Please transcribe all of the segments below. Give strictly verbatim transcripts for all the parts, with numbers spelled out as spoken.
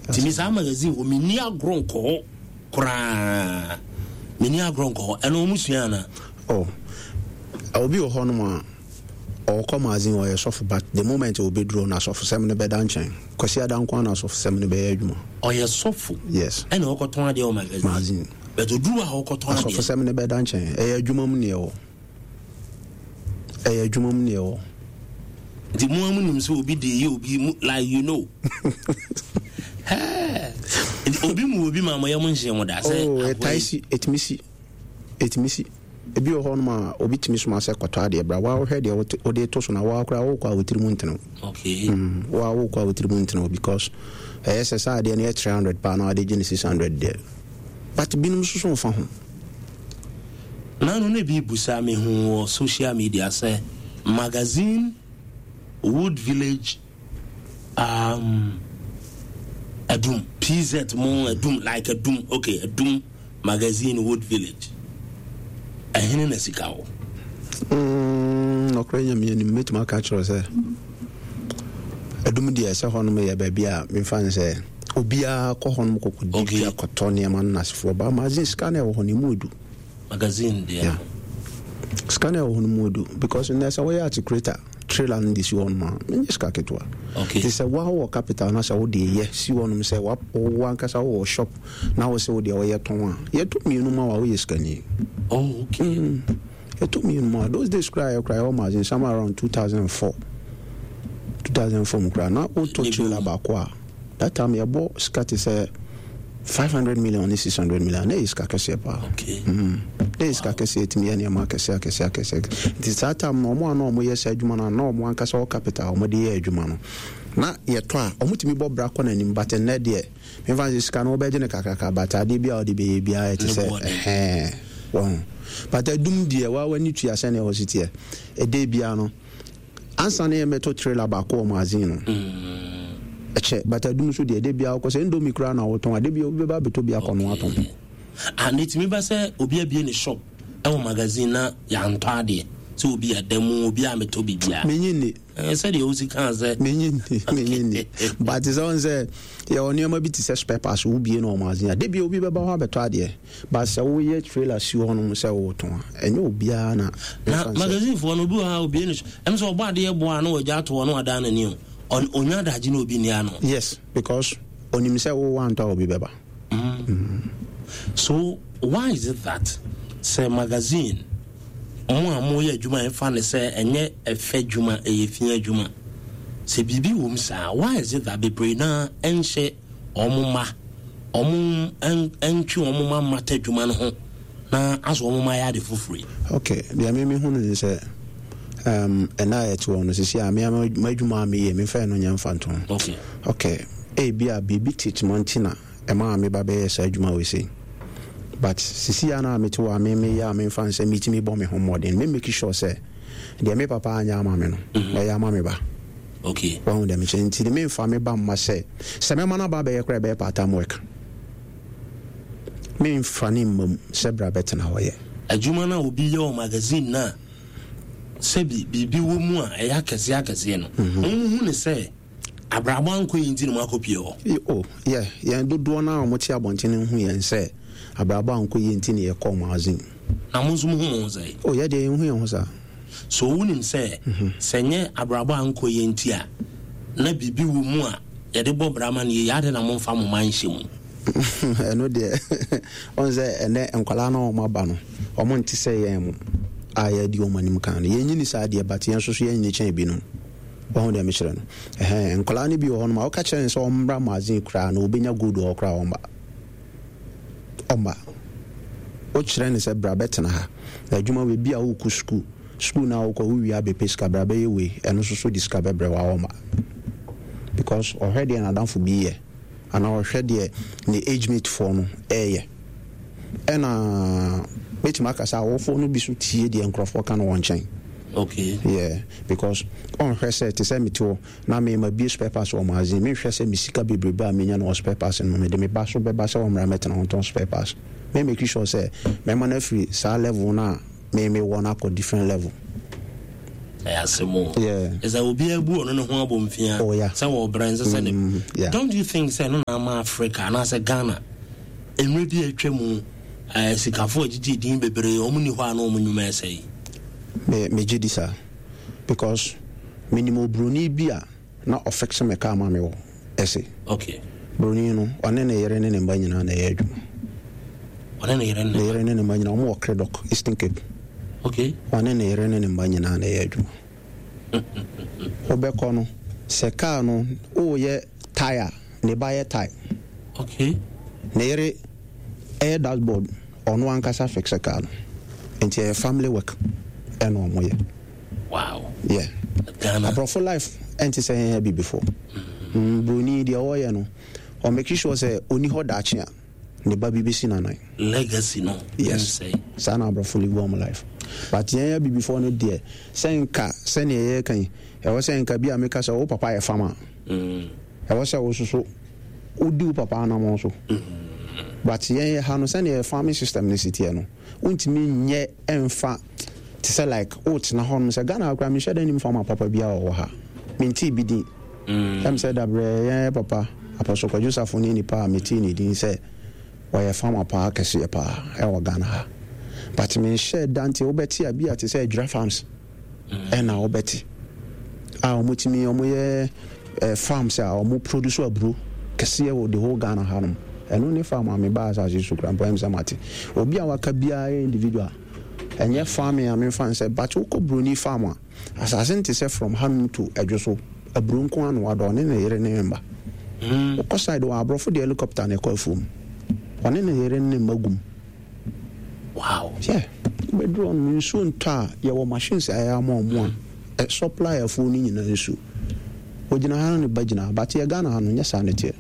Nti me saa magazine hɔ, menni agorɔ nkɔ hɔ koraa, menni agorɔ nkɔ hɔ. Ɛno ɔmo sua ana? Oh, obi wɔ hɔnom a ɔkɔ magazine, ɔyɛ sɔfo, but the moment obɛduro no, asɔfosɛm no bɛda nkyɛn. Kwasi ada nko na asɔfosɛm no bɛyɛ adwuma. Ɔyɛ sɔfo? Yes. Ɛna ɔkɔtɔn adeɛ wɔ magazine? Magazine. But oduru a ɔkɔtɔn adeɛ, asɔfosɛm no bɛda nkyɛn. Ɛyɛ adwuma mu neɛ wɔ, ɛyɛ adwuma mu neɛ wɔ. Nti mo a mo nim sɛ obi de yɛ obi mu, like you know nti obi mu obi ma mo yɛ mo nhyɛn mo da sɛ oh, ɛtae si, ɛtumi si, ɛtumi si. Ebi wɔ hɔnom a obi tumi soma sɛ kɔtɔ adeɛ bra, waa wohwɛ deɛ wode to so na waa koraa wokɔ a wotiri mu ntene. Okay. mm, waa wokɔ a wotiri mu ntene, because ɛyɛ sɛ saa adeɛ no yɛ three hundred paa na wade gye ne six hundred deɛ, but binom nso so mfa ho. Nano ne bi busa me hu wɔ social media sɛ magazine, Wood Village, um, Adum P Z mo Adum, like Adum, okay, Adum Magazine, Wood Village, ɛhene na sika wɔ? mm, nɔkorɛ Nyame anim, mɛtumi aka kyerɛ sɛ Adum deɛ, sɛ hɔnom yɛ baabi a memfa ne sɛ obiara kɔ hɔnom kɔkɔdi Okay. dwa, kɔtɔ nneɛma no nasefoɔ ba. Magazine, sika no ɛwɔ hɔ no ɛmu edu. Magazine deɛ. Yeah. Sika no ɛwɔ hɔ no mu edu, because nnɛ sɛ woyɛ articulator trailer no de si hɔnom a, menyɛ sika ketewa. Okay. Nti sɛ woa wɔ capital na sɛ wode yɛ si hɔnom sɛ wa- wo ankasa wowɔ shop na wo sɛ wodeɛ wɔyɛ tɔn a, yɛtɔ mmienu ma wa, woyɛ sikani. Oh, okay. mm. yɛtɔ mmienu ma wa. Those days koraa yɛ koraa yɛwɔ magazine somewhere around two thousand four, two thousand four mu koraa na wotɔ Ne bi trailer wɔ. Baako a that time yɛbɔ sika te sɛ five hundred million ne six hundred million, na ɛyɛ sika kɛseɛ paa. Okay. Mm. na ɛyɛ sika kɛseɛ, ɛtumi yɛ nneɛma akɛseɛ akɛseɛ akɛseɛ. Nti saa time no, ɔmo a na ɔmo yɛ saa adwuma no a, na ɔmo ankasa wɔ capital a ɔmo de yɛ adwuma no, na yɛtɔ a ɔmo tumi bɔ bra kɔ n'anim. But nnɛ deɛ, memfa sɛ sika no wobɛgye no kakraka, but adeɛ bi a wode bɛyɛ biara ɛte Ne sɛ boɔ den. ɛhɛn wɔn. But Adum deɛ, waa w'ani tua sɛnea ɛwɔ si teɛ. Ɛdɛ biara no, ansa ne yɛmɛtɔ trailer baako wɔ magazine no ɛkyɛ, but Adum nso deɛ, ɛdɛ biara wokɔ sɛ Indomie koraa na wotɔn a, de bia obi bɛba abɛtɔ bi akɔ no atɔn. Ah, na ɛtumi ba sɛ obi abie ne shop ɛwɔ magazine na yɛantɔ adeɛ, sɛ obi ada mu, obi a metɔ biribiaa? Menyi nni. Eh, sɛdeɛ wosi kaa sɛ Menyi nni, menyi nni, but sɛ wɔn sɛ yɛwɔ nneɛma bi te sɛ spare parts, wobie no wɔ magazine a, de bia obi bɛba hɔ abɛtɔ adeɛ, but sɛ woyɛ trailer si hɔ nom sɛ wotɔn a, ɛnyɛ obiara na na ɛmfa nsɛ- Magazine foɔ no, obi wɔ ha, obie ne shop, ɛm sɛ ɔbɔ adeɛ boa a na wɔagya ato hɔ na wadan n'ani o. Ɔn- ɔnya adagye na obi nni ano. Yes, because onim sɛ wowɔ antɔ a, obi bɛba. So why is it that sɛ magazine mo a moyɛ adwuma a ɛfa ne sɛ ɛnyɛ ɛfɛ adwuma, ɛyɛ fi adwuma, sɛ biribi wɔ mu saa, why is it that bebree naa ɛnhyɛ ɔmo ma ɔmo ɛn- ɛntwe ɔmo ma mmata adwuma no ho na asɔ ɔmo ma yɛ ade foforɔ yi? Okay, deɛ me mehu no ne sɛ um, ɛna a yɛte hɔ no sisi a, me m'adwuma a meyɛ, memfa ɛno nyɛ mfa nto ho. Okay okay, ebi a biribi tete ma nti na ɛma a meba bɛyɛ saa adwuma wei sei, but sisi a na mete hɔ a me meyɛ a, memfa nsɛ metumi bɔ me ho mmɔden, me make sure sɛ deɛ me papa anyɛ ama me no, mɛyɛ ama me ba. Okay wahu deɛ mekyɛ? Nti ne memfa me ba mma sɛ sɛ mɛma no aba abɛyɛ koraa, ɛbɛyɛ part time work. Memfa ne mma mu sɛ bra bɛtena hɔ yɛ. Adwuma no a obi yɛ wɔ magazine no a, sɛbi biribi wɔ mu a ɛyɛ akɛseɛ akɛseɛ no, mohu ne sɛ abrabɔ ankɔ yi nti na moakɔpie hɔ? Y- oh yeah, yɛn dodoɔ no a wɔte abɔnten no hu yɛn sɛ abrabɔ ankɔ yie nti ne yɛkɔɔ magazine. Na mo nso mohu mo ho sɛ? Oh, yɛ deɛ, yɛnhu yɛn ho saa. So wonim sɛ sɛ nyɛ abrabɔ ankɔ yie nti a, na biribi wɔ mu a yɛde bɔ bra ma no yie ade na momfa mo ma nhyɛ mu? Ɛno deɛ, ɔn sɛ ɛnɛ nkwalaa no a wɔn aba no, wɔn nte sɛ yɛn mo a yɛadi wɔn anim kan no. Yɛnyini saa deɛ, but yɛn nso so yɛnyini kyɛn binom. Wɔn deɛ mekyerɛ no, ɛhɛn, nkwalaa no bi wɔ hɔ nom a wɔka kyerɛ no sɛ ɔmmra magazine koraa na obɛnya gold wɔ hɔ koraa, ɔmba, ɔmba. Wokyerɛ no sɛ bra bɛtena ha na adwuma wei bi a wokɔ sukuu, sukuu no a wokɔ wowie abɛpɛ sika, bra bɛyɛ wei, ɛno nso so de sika bɛbrɛ wa, ɔmba, because ɔhwɛ deɛ n'adamfo bi yɛ anaa ɔhwɛ deɛ ne age mate foɔ no ɛɛyɛ. Ɛna mɛtumi aka sɛ awofoɔ no bi so tie deɛ nkurɔfoɔ ka no wɔ nkyɛn. Okay yeah, because ɔnhwɛ sɛ te sɛ mete hɔ na mema bie spare parts wɔ magazine, menhwɛ sɛ me sika bebrebe a menya no wɔ spare parts no, mede me ba so bɛba sɛ ɔmmra mɛtena ho tɔn spare parts. Me make sure sɛ mɛma no afiri saa level no a me mewɔ no akɔ different level. Ɛyɛ asɛm o. Yeah. Ɛsɛ obiara bu ɔno ne ho abɔ mfia. Oh, yeah. Sɛ wɔbrɛ nsɛ sɛ ne. Mm, yeah. Don't you think sɛ no na ama Africa anaasɛ Ghana mmerɛ bi a atwa mu eh, sikafo a gyegye din bebree, wɔn ni hɔ a na wɔn nnwuma ɛsɛ yi? Me megye di saa because menim oburoni bi a na ɔfixe me car ma me wɔ ɛse. Okay. Buroni no, ɔne ne yere ne ne mba nyinaa na ɛyɛ adwuma. Ɔne ne yere ne ne yere ne ne mba nyinaa, wɔn wɔ Cradock, Eastern Cape. Okay. Ɔne ne yere ne ne mba nyinaa na ɛyɛ adwuma. Wobɛkɔ no, sɛ car no woyɛ tyre, ne ba yɛ tyre. Okay. Ne yere ɛyɛ dashboard, ɔno ankasa fixe car no. Nti ɛyɛ family work ɛna ɔmo yɛ. Wow. Yeah. Ghana. Aborɔfo life ɛnte sɛ yɛn abibifoɔ. Mm, Broni deɛ ɔyɛ no, ɔmake sure sɛ ɔni hɔ daakye a, ne ba bi bɛsi n'anan. Legacy no. Yes. Ɛnsɛe. Saa na aborɔfo live wɔn life. But yɛn abibifoɔ no deɛ, sɛ nka sɛnea yɛreka yi, ɛwɔ sɛ nka bi a meka sɛ wo papa yɛ farmer. Mm. Ɛwɔ sɛ wo soso wodi wo papa anammɔn so. But yɛn yɛ ha no, sɛnea yɛ farming system no si teɛ no, wontumi nyɛ ɛmfa te sɛ like wotena hɔ nom sɛ Ghana koraa menhyɛ da nim farmer papa biara wɔ ha. Mentee bi din. Ɛm sɛ dabrɛ yɛn papa Apostle Kwadwo Safo ne nipa a metee ne din sɛ ɔyɛ farmer paa kɛseɛ paa ɛwɔ Ghana ha. But menhyɛ da, nti wobɛte a bi a te sɛ Adwira Farms ɛna wobɛte a wɔtumi wɔyɛ eh, farms a wɔn produce aburo kɛseɛ wɔ the whole Ghana ha nom. Ɛno ne farm a mebaa asase so kura mpo ɛm sɛ mate. Obi a waka biara yɛ individual. Ɛnyɛ farming a memfa nsɛ, but wokɔ buroni farm a, asase nte sɛ from hanom to Adwo so, aburo nko ano wadɔ, ɔne ne yere ne ne mba. Wokɔ side wɔ aborɔfo de helicopter na ɛkɔ afuom. Ɔne ne yere ne ne mma gum. Wow. Yeah. Wobɛduru hɔ nom, nsuo ntɔ a, yɛwɔ machines a ɛyɛ ama ɔmo a ɛ supply afuo no nyinaa nsuo. Ogyina ha na ne ba gyina ha, but yɛ Ghana ha no, nyɛ saa na ɛteɛ.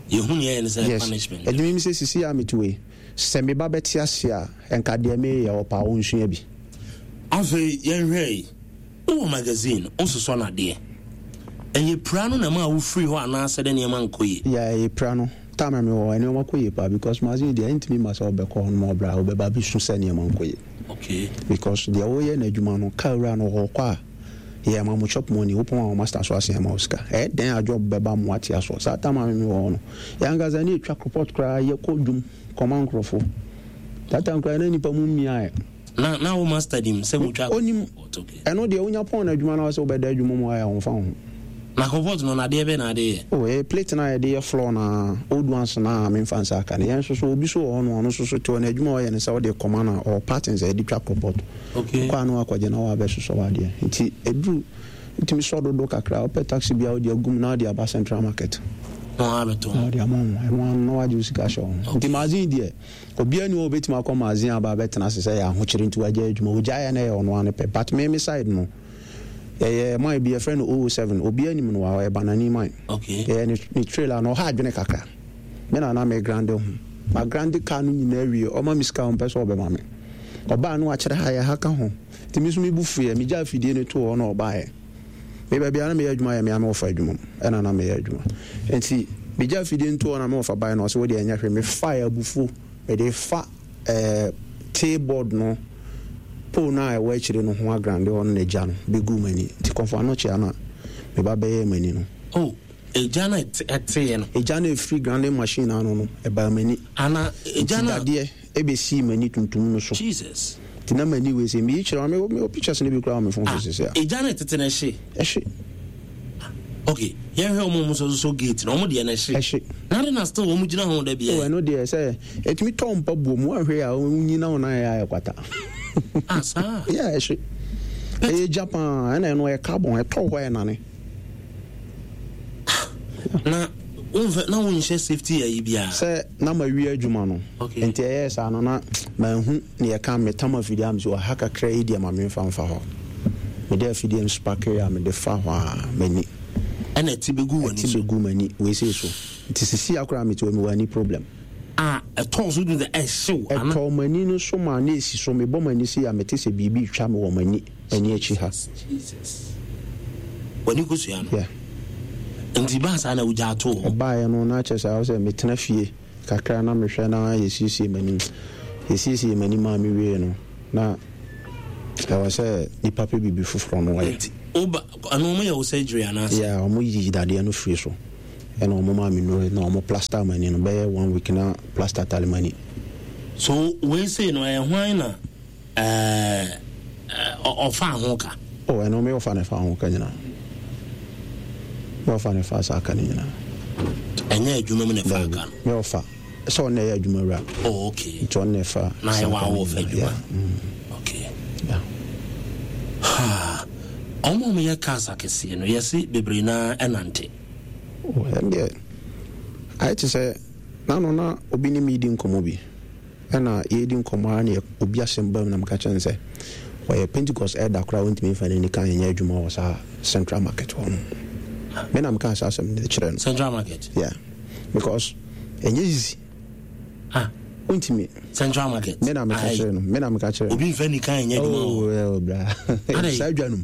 Yɛhu nea ɛyɛ no sɛ Yes. punishment. Ɛdumi mi sɛ sisi a mete wei, sɛ me ba bɛte ase a, nka deɛ meyɛ ɔpa a ɔnsua bi. Afei yɛnhwɛ yi, wowɔ magazine, wososɔ no adeɛ. Ɛyɛ pira no na ɛma a wofiri hɔ anaasɛ dɛ nneɛma nkɔ yie? Yeah, ɛyɛ pira no. Time a mewɔ hɔ, nneɛma kɔ yie paa because magazine deɛ ɛntumi ma sɛ wobɛkɔ hɔ nom ɔbrɛ a wobɛba abɛsu sɛ nneɛma nkɔ yie. Okay. Because deɛ woyɛ n'adwuma no, car wura no ɔkɔ a, yɛ ma mo chop money, wopɔn a wo master so asen ama wo sika. Ɛyɛ dɛn a job bɛba mo ate asoɔ. Saa time a me mewɔ hɔ no, yɛn ankasa ne yɛtwa report koraa, yɛkɔ dwom kɔma nkurɔfoɔ. That time koraa na nipa mu mmiaeɛ. Na na wo master nim sɛ motwa Onim. report, okay. Ɛno deɛ wonya pɔn no adwuma na sɛ wobɛda adwuma mu ayɛ a, ɔmfa wo ho. Na report no, nadeɛ bɛn na ade yɛ? Oh, ɛyɛ plate no a yɛde yɛ floor na old ones na a memfa nsa aka no. Yɛn nso so, obi so wɔ hɔ no, ɔno nso so te hɔ no, adwuma a ɔyɛ no sɛ wode kɔma no a, ɔwɔ patterns a yɛde twa report. Okay. Kɔ a na wakɔgye na wabɛsosɔ w'adeɛ. Nti ɛduru, wotumi sɔ dodo kakra, wopɛ taxi bi a wode agum na wode aba Central Market. Na wabɛtɔn. Na wode ama wo, ɛno ano na wagye wo sika ahyɛ wo ho. Nti magazine deɛ, obiara ni hɔ a obɛtumi akɔ magazine aba abɛtena ase sɛ ɛyɛ ahokyere nti wagyae adwuma. Ogyaeɛ na ɛyɛ ɔno ara ne pɛ. But me me side no, yɛyɛ man bi yɛfrɛ no zero zero seven, obiara nim no wɔ ha, ɔyɛ banani man. Okay. Yɛyɛ ne ne trailer no, ɔha adwene kakra. Me na na me grande ho. Ma grande car no nyinaa wie, ɔma me sika a ɔmpɛ sɛ ɔbɛma me. Ɔbaa no wakyerɛ ha yɛ ha ka ho. Nti me nso me bu fuiɛ, megyaa afidie no too hɔ na ɔbaeɛ. Me baabi a na meyɛ adwuma yɛ me a me wɔfa adwuma mu ɛna na meyɛ adwuma. Nti megyaa afidie no too hɔ na me wɔfa baeɛ na ɔsɛ wo deɛ ɛnyɛ hwee. Mefaeɛ abufuo, mede fa ɛɛ tee board no, pole no a ɛwɔ akyire no ho agrande hɔ no na egya no bɛguu m'ani. Nti kɔmfo ano kyea no a me ba bɛyɛɛ m'ani no. Oh, egya no a ɛteeɛ no? Egya no a ɛfiri grinding machine ano no, ɛbaa m'ani. Ana egya no a. Nti dadeɛ ɛbɛsii m'ani tuntum no so. Jesus. Nti na m'ani wei sɛ meyi kyerɛ wo a, mewɔ pictures no bi koraa wɔ me phone so sisi a. Ah, egya no ɛtete no ɛhye? Ɛhye. Okay, yɛnhwɛ wɔn a wɔn sosɔ gate no, wɔn deɛ no ɛhye. Ɛhye. Na de na still wɔn gyina ho da biara. Oh, ɛno deɛ sɛ ɛtumi tɔ mpa buo mu, woanhwɛ a wonyina wo nan ayɛ kwata. Ah, saa? Yeah, ɛhye. Ɛyɛ gya paa, ɛna ɛno ɛyɛ carbon, ɛtɔ hɔ a ɛnane. Na wonfɛ na wonhyɛ safety ayi biara. Sɛ na mawie adwuma no. Okay. Nti ɛyɛɛ saa no na manhu ne yɛka metam afidie a mesɛ ɔha kakra yi deɛ ma memfa mfa hɔ. Mede afidie no sparkle a mede fa hɔ a m'ani. Ɛna ɛte bɛgu w'ani so. Ɛte bɛgu m'ani wei sei so. Nti sisi akora mete hɔ mewɔ ani problem. A ɛtɔɔ so dun sɛ ɛhyew ana. Ɛtɔɔ m'ani no so ma na esi so, mebɔ m'ani sei a mete sɛ biribi retwa me wɔ m'ani m'ani akyi ha. Jesus. W'ani kosua no. Yeah. Nti baa saa na wogyaa too hɔ. Ɛbaeɛ no na kyerɛ sɛ ayɛ sɛ metena fie kakra na mehwɛ na yɛsiesie m'anim. Yɛsiesie m'anim a mewie no na Ɛwɔ sɛ nipa pɛ biribi foforɔ no wɔyɛ. Nti woba ɛno ɔmo yɛ wo surgery anaasɛ? Yeah, ɔmo yi dadeɛ no firi so, ɛna ɔmo maa me nnuro na ɔmo plaster m'ani no bɛyɛ one week na plaster tale m'ani. So wei sei no ɛyɛ hwan na ɛɛ ɔfaa ho ka? Oh, ɛno me ɔfa na ɛfa ho ka nyinaa. Me ɔfa na ɛfa saa ka no nyinaa. Ɛnyɛ adwuma mu na ɛfa ka no? Me ɔfa. Sɛ ɔno na ɛyɛ adwuma wura. Oh, okay. Nti ɔno na ɛfa na saa ɛwɔ ka no awɔ fa nyinaa. adwuma. Yeah. Mm. Okay. Yeah. Ha. Ɔmo a ɔmo yɛ cars akɛseɛ no, yɛse bebree naa ɛnante. Oh, ɛno deɛ, ayɛ te sɛ, n'ano na obi ne me di nkɔmmɔ bi. Ɛna yɛredi nkɔmmɔ ara na obi asɛm ba mu na meka kyerɛ no sɛ, ɔyɛ Pentecost elder koraa ɔntumi mfa n'ani ka nyɛ adwuma wɔ saa Central Market hɔ no. Me na meka saa asɛm no kyerɛ no. Central Market? Yeah. Because ɛnyɛ easy. Ah. Wontumi. Central Market. Me na meka kyerɛ no. Me na meka kyerɛ no. Obi mfa ni kan nyɛ adwuma wɔ. Oh, bra. Saa adwa no mu.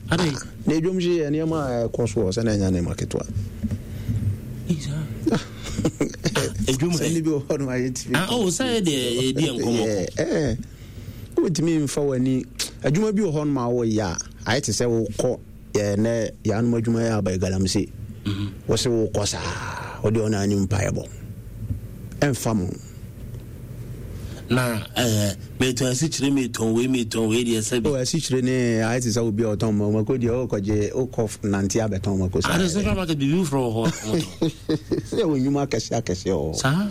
Adɛn? Ah, na edwom hye yɛ nneɛma a ɛkɔ so wɔ sɛ na ɛnyɛ nneɛma ketewa. Edwom hɛ. Sɛ bi wɔ hɔ no ayɛ tumi. Ah, oh, sɛ deɛ yɛdi nkɔmmɔ kɔ. Ɛɛ, wotumi mfa w'ani. Adwuma bi wɔ hɔ no ma wɔyɛ a, ayɛ te sɛ wokɔ yɛ nɛ yɛanom adwuma yɛ aba galamsey. Wɔ sɛ wokɔ saa, wode ɔno anim mpaeɛbɔ. Ɛmfa mo. Na eh, metɔn asikyire, metɔn wei, metɔn wei deɛ sɛ bi. O asikyire ne ayɛ te sɛ obi a ɔtɔn ma mako deɛ ɔkɔgye wokɔ nante abɛtɔn mako saa. Ade central market biribi foforɔ wɔ hɔ ɔmotɔn. Sɛ wɔ nnwuma akɛseɛ akɛseɛ wɔ hɔ. Saa?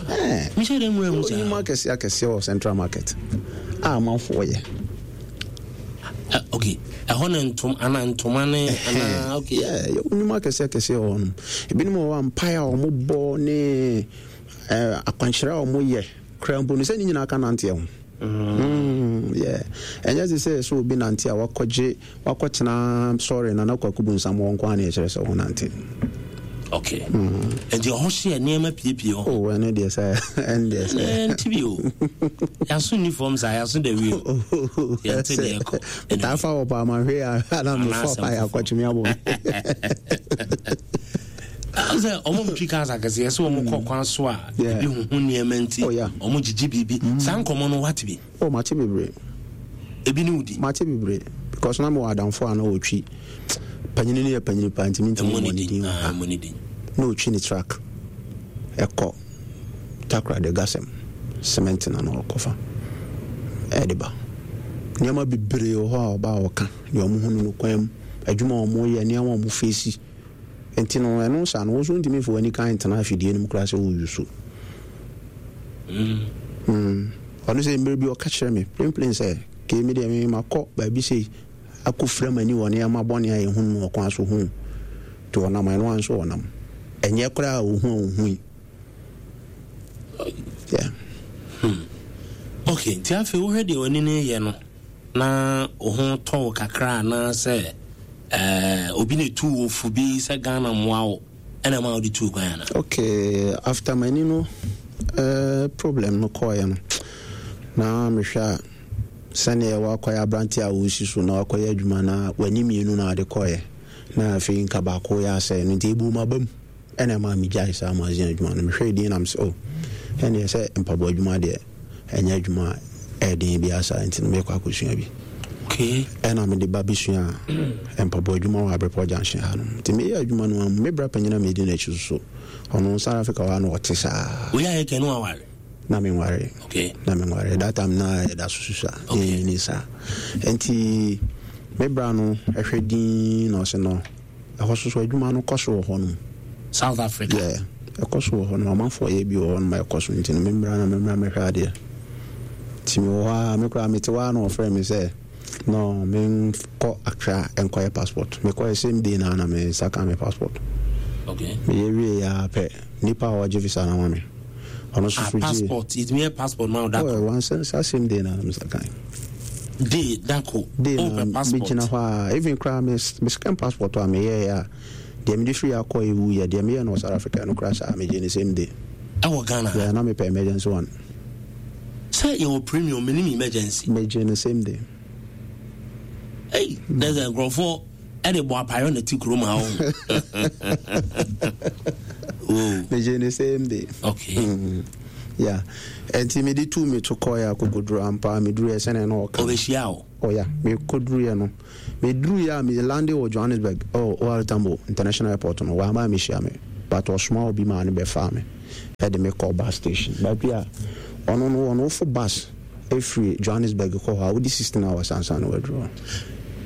Mehyɛ dɛ nwura mu saa. Nnwuma akɛseɛ akɛseɛ wɔ central market a amanfoɔ yɛ. Uh, okay, ɛhɔ ne ntom ana ntoma ne ana okay. Yeah, yɛ nnwuma akɛseɛ akɛseɛ wɔ hɔ nom. Ebinom wɔ hɔ a mpaeɛ a wɔbɔ ne akwankyerɛ a wɔyɛ kura mpo no sɛ ne nyinaa ka nanteɛ ho. Mm, yeah. Ɛnyɛ te sɛ sɛ obi nante a wakɔgye wakɔtena sɔre na na kwaku bu nsam wɔ nko a na ɛkyerɛ sɛ wɔnante. Okay. Mm. Nti ɔhɔ hyɛ nneɛma piepie hɔ. Oh, ɛno deɛ sɛ ɛno deɛ sɛ. Ɛnti bi o. Yaso ni fam saa yaso da wi o. Yɛnte deɛ ɛkɔ. Metaa fa wɔ paa ma hwɛ ya ana me fa paa yɛ akɔtwe me abɔ me. Sɛ ɔmo twi cars akɛseɛ sɛ ɔmo kɔ kwan so a ebi huhu nneɛma nti ɔmo gyigyi biribi saa nkɔmɔ no wate bi. Oh, mate bebree. Ebi ne wodi. Mate bebree because na mewɔ adamfo a na ɔtwi panyini no yɛ panyini paa nti mentumi mmɔ ne din wɔ ha. Na ɔtwi ne truck ɛkɔ Takoradi Gasɛm cement na na ɔkɔfa ɛde ba. Nneɛma bebree wɔ hɔ a ɔba a ɔka deɛ ɔmo hu no no kwan mu adwuma a ɔmo yɛ nneɛma a ɔmo face. Nti no ɛno saa no wo nso wontumi mfa w'ani kan ntena afidie no mu koraa sɛ woreyi so. Mm. Ɔno sɛ mmerɛ bi ɔka kyerɛ me plain sɛ kei me deɛ me makɔ baabi sei akɔfira m'ani wɔ nneɛma bɔne a yɛhunu no ɔkwan so ho. Nti ɔnam ɛno ara nso ɔnam. Ɛnyɛ koraa a ɔhu a ɔhui. Yeah. Hmm. Okay, nti afei wohwɛ deɛ w'ani no yɛ no na wo ho tɔ wo kakra anaasɛ eh, obi na etu wo fo bi sɛ Ghana mmoa wo ɛna ɛma wode tuu kwan ana? Okay, after m'ani no eh, problem no kɔɔeɛ no na mehwɛ a sɛdeɛ wakɔyɛ aberante a wɔsi so na wakɔyɛ adwuma na w'ani mmienu na ade kɔɔeɛ na afei nka baako yɛ asɛe no nti ɛbuu m'aba mu. Ɛna ɛmaa megyae saa magazine adwuma no. Mehwɛɛ din na mesɛ, oh, ɛneɛ sɛ mpaboa adwuma deɛ, ɛnyɛ adwuma a ɛyɛ den biara saa, nti no mekɔ akɔsua bi. Okay. Ɛna mede ba bɛsuaa mpaboa adwuma wɔ Abrepɔ Junction ha nom. Nti meyɛ adwuma no ara mu, me bra panyin a medi n'akyi so, ɔno South Africa hɔ a na ɔte saa. Woyɛ ayɛ kɛ no aware? Na menware. Okay. Na menware. That time na yɛda so susua. Okay. Yɛnyini saa. Nti me bra no ɛhwɛ din na ɔse no, Ɛhɔ so so adwuma no kɔ so wɔ hɔ nom. South Africa. Yeah, ɛkɔ so wɔ hɔ nom. Amanfoɔ yɛ bi wɔ hɔ nom a ɛkɔ so nti no memmra na memmra mɛhwɛ adeɛ. Nti mewɔ hɔ a me koraa mete hɔ a na wɔfrɛ me sɛ no menkɔ Accra nkɔyɛ passport. Mekɔɛ same day na na me nsa ka me passport. Okay. Meyɛ wie a pɛ nipa a ɔgye visa no ama me. Ɔno nso ah, so gye. Passport, yɛtumi yɛ passport ma wo da koro. Oh, wansa saa same day na na me nsa kan. Day da ko. Day oh, na passport. Megyina hɔ a even koraa me me second passport a meyɛɛ a deɛ mede firi akɔ ewu yɛ deɛ meyɛ no wɔ South Africa no koraa saa megye ne same day. Ɛwɔ Ghana. Yeah, na mepɛ emergency one. Sɛ yɛwɔ premium menim emergency. Megye ne same day. Hey, there's a nkurɔfoɔ ɛde bɔ apayɔ na ti kurom ha o. Megye ne same day. Okay. Mm. Yeah, ɛnti mede tu me to kɔɛ akokoduro ampa. Meduruɛ sɛnea na ɔka. Ɔbɛhyia wo? Oh yeah, mekɔduruiɛ no, meduruiɛ a me lande wɔ Johannesburg, oh, O R Tambo International Airport no, wama mehyia me, but ɔsoma obi maa ne bɛfaa me ɛde me kɔ bus station, baabi a ɔno no ɔno wofo bus ɛfiri Johannesburg kɔ hɔ a, wodi sixteen hours ansa na waduru hɔ.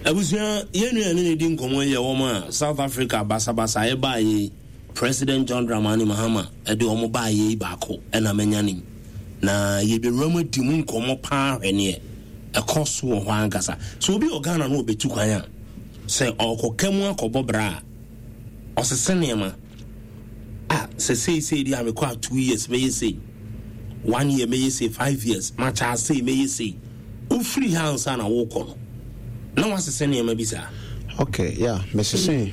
Abusua, yɛn nua ne ne di nkɔmmɔ yi yɛ wɔn a South Africa basabasa ɛbaa yi, President John Dramani Mahama ɛde wɔn baa yi baako ɛna manya nim na yɛbɛwura mu adi mu nkɔmmɔ paa, hwɛ neɛ ɛkɔ so wɔ hɔ ankasa. So obi wɔ Ghana no ɔbɛtu kwan a, sɛ ɔkɔka mu akɔbɔ bra a, ɔsese nneɛma a sɛ seisei deɛ a mekɔ a, two years mɛyɛ sei, one year mɛyɛ sei, five years makyɛ sei mɛyɛ sei. Wofiri ha ansa na wokɔ no na wasese nneɛma bi saa? Okay, yeah, mesese,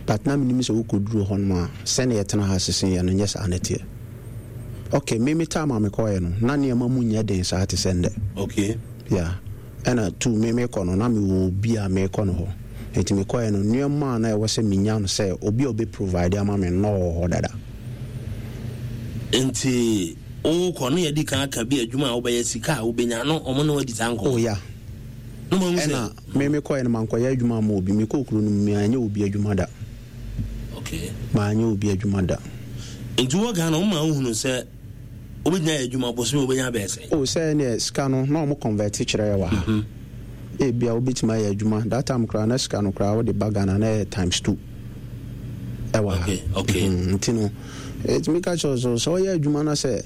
but na menim sɛ wokɔduru hɔ nom a, sɛne yɛtena ha sese yɛ no nyɛ saa ne teɛ. Okay, me me time a mekɔɛ no, na nneɛma mu nyɛ den saa te sɛ ndɛ. Okay yeah, ɛna two, me mekɔ no na mewɔ obi a mekɔ no hɔ, nti mekɔɛ no, nneɛma a na ɛwɔ sɛ menya no sɛ obi a ɔbɛ provide ama me no wɔ hɔ dada. Nti wokɔ no, yɛdi kan aka bi adwuma a wobɛyɛ, sika a wobɛnya no, ɔmo ne wadi saa nkɔmmɔ? Oh yeah. No ma hu sɛ ɛna me mekɔɛ no, mankɔyɛ adwuma ama obi. Mekɔɔ kuro no mu, meanyɛ obi adwuma da. Okay maanyɛ obi adwuma da. Nti wɔ Ghana, woma wohunu sɛ wobɛgyina yɛ adwuma bosome wobɛnya bɛɛ sɛ? O, sɛ neɛ sika no na ɔmo convert kyerɛ yɛ wɔ ha, mhm. ebia wobɛtumi ayɛ adwuma that time koraa na sika no koraa wode ba Ghana na ɛyɛ times two ɛwɔ ha. okay okay mm, nti no ɛtumi ka kyerɛ so sɛ ɔyɛ adwuma no sɛ